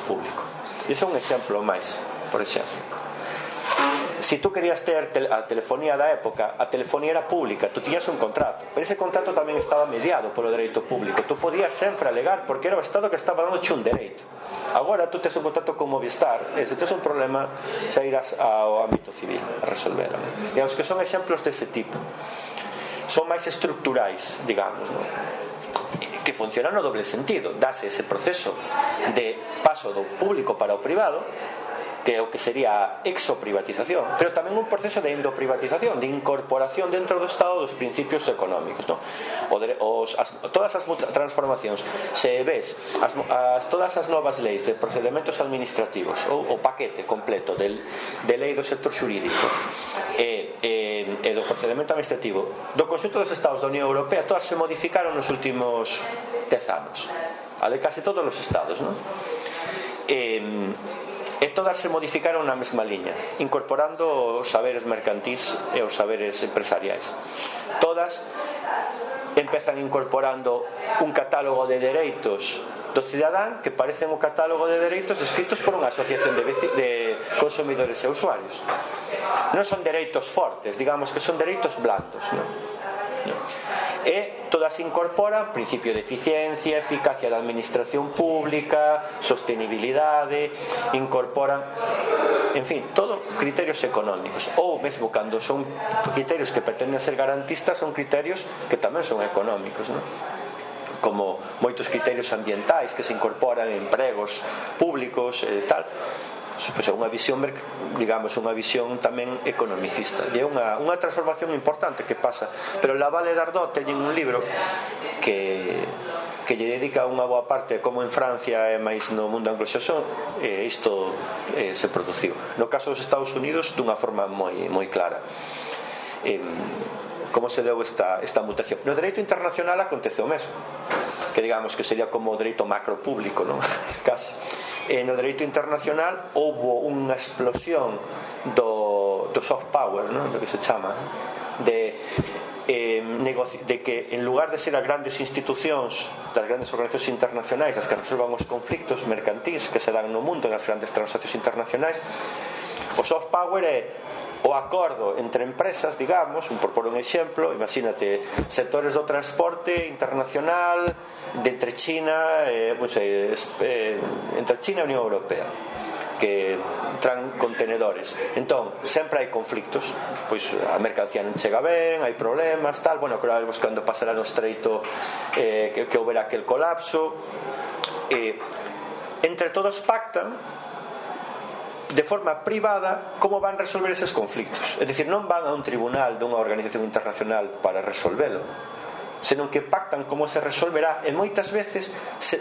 público. E ese é un exemplo máis. Por exemplo, si tú querías ter a telefonía da época, a telefonía era pública, tú tiñas un contrato, pero ese contrato tamén estaba mediado polo dereito público. Tú podías sempre alegar porque era o Estado que estaba dándoche un dereito. Agora tú tes un contrato con Movistar, e se tes un problema xa irás ao ámbito civil a resolverlo. Digamos que son exemplos dese tipo, son máis estructurais, digamos, non? Que funcionan no doble sentido. Dase ese proceso de paso do público para o privado, que é o que sería a exoprivatización, pero tamén un proceso de endoprivatización, de incorporación dentro do Estado dos principios económicos, non? Todas as transformacións, se ves todas as novas leis de procedimentos administrativos, ou o paquete completo de lei do sector xurídico e do procedimento administrativo do conxunto dos Estados da Unión Europea, todas se modificaron nos últimos 10 anos, a de casi todos os Estados, non? E todas se modificaron na mesma liña, incorporando os saberes mercantís e os saberes empresariais. Todas empezan incorporando un catálogo de dereitos do cidadán que parecen o catálogo de dereitos escritos por unha asociación de consumidores e usuarios. Non son dereitos fortes, digamos que son dereitos blandos, non? E todas incorporan principio de eficiencia, eficacia da administración pública, sostenibilidade, incorporan, en fin, todo criterios económicos, ou mesmo cando son criterios que pretenden ser garantistas, son criterios que tamén son económicos, non? como moitos criterios ambientais que se incorporan en empregos públicos e tal. Pois é unha visión, digamos, unha visión tamén economicista, e é unha transformación importante que pasa. Pero la Valle d'Ardós teñen un libro que lle dedica unha boa parte como en Francia e máis no mundo anglosaxón isto se produciu. No caso dos Estados Unidos dunha forma moi clara. Como se deu esta mutación? No dereito internacional acontece o mesmo, que digamos que sería como o dereito macro público, non? Casi. No dereito internacional houve unha explosión do soft power, non? Do que se chama, de que en lugar de ser as grandes institucións das grandes organizacións internacionais as que resolvan os conflictos mercantís que se dan no mundo nas grandes transaccións internacionais, o soft power é o acordo entre empresas, digamos, por pôr un exemplo, imagínate sectores do transporte internacional entre China entre China e a Unión Europea, que traen contenedores. Entón, sempre hai conflictos, pois a mercancía non chega ben, hai problemas, tal, bueno, claro, buscando pasar no estreito que houbera aquel colapso, entre todos pactan de forma privada como van resolver eses conflictos. É dicir, non van a un tribunal dunha organización internacional para resolvelo, senón que pactan como se resolverá, e moitas veces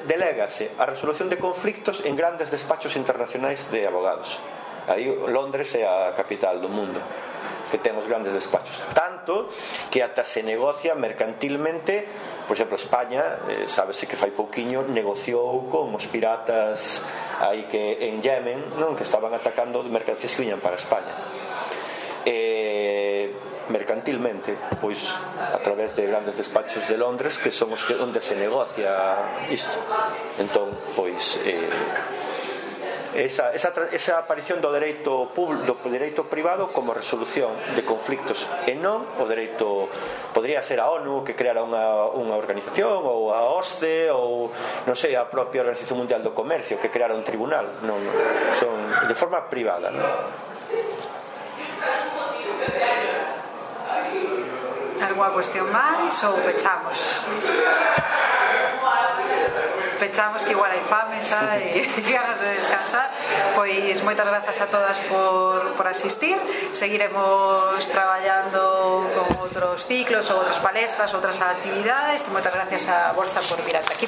delégase a resolución de conflictos en grandes despachos internacionais de abogados. Aí Londres é a capital do mundo que ten os grandes despachos, tanto que ata se negocia mercantilmente. Por exemplo, España, sábese que fai pouquiño negociou con os piratas aí que en Yemen, non, que estaban atacando mercancías que viñan para España, mercantilmente, pois a través de grandes despachos de Londres, que son os que onde se negocia isto. Entón, pois esa aparición do dereito privado como resolución de conflictos, e non o dereito. Podría ser a ONU que creara unha organización, ou a OSCE, ou non sei, a propia Organización Mundial do Comercio que creara un tribunal. Non, son de forma privada, non? Alguna cuestión máis ou pechamos? Pechamos, que igual hai fame xa e ganas de descansar. Pois moitas grazas a todas por asistir. Seguiremos traballando con outros ciclos ou outras palestras, outras actividades, e moitas gracias a Borja por vir ata aquí.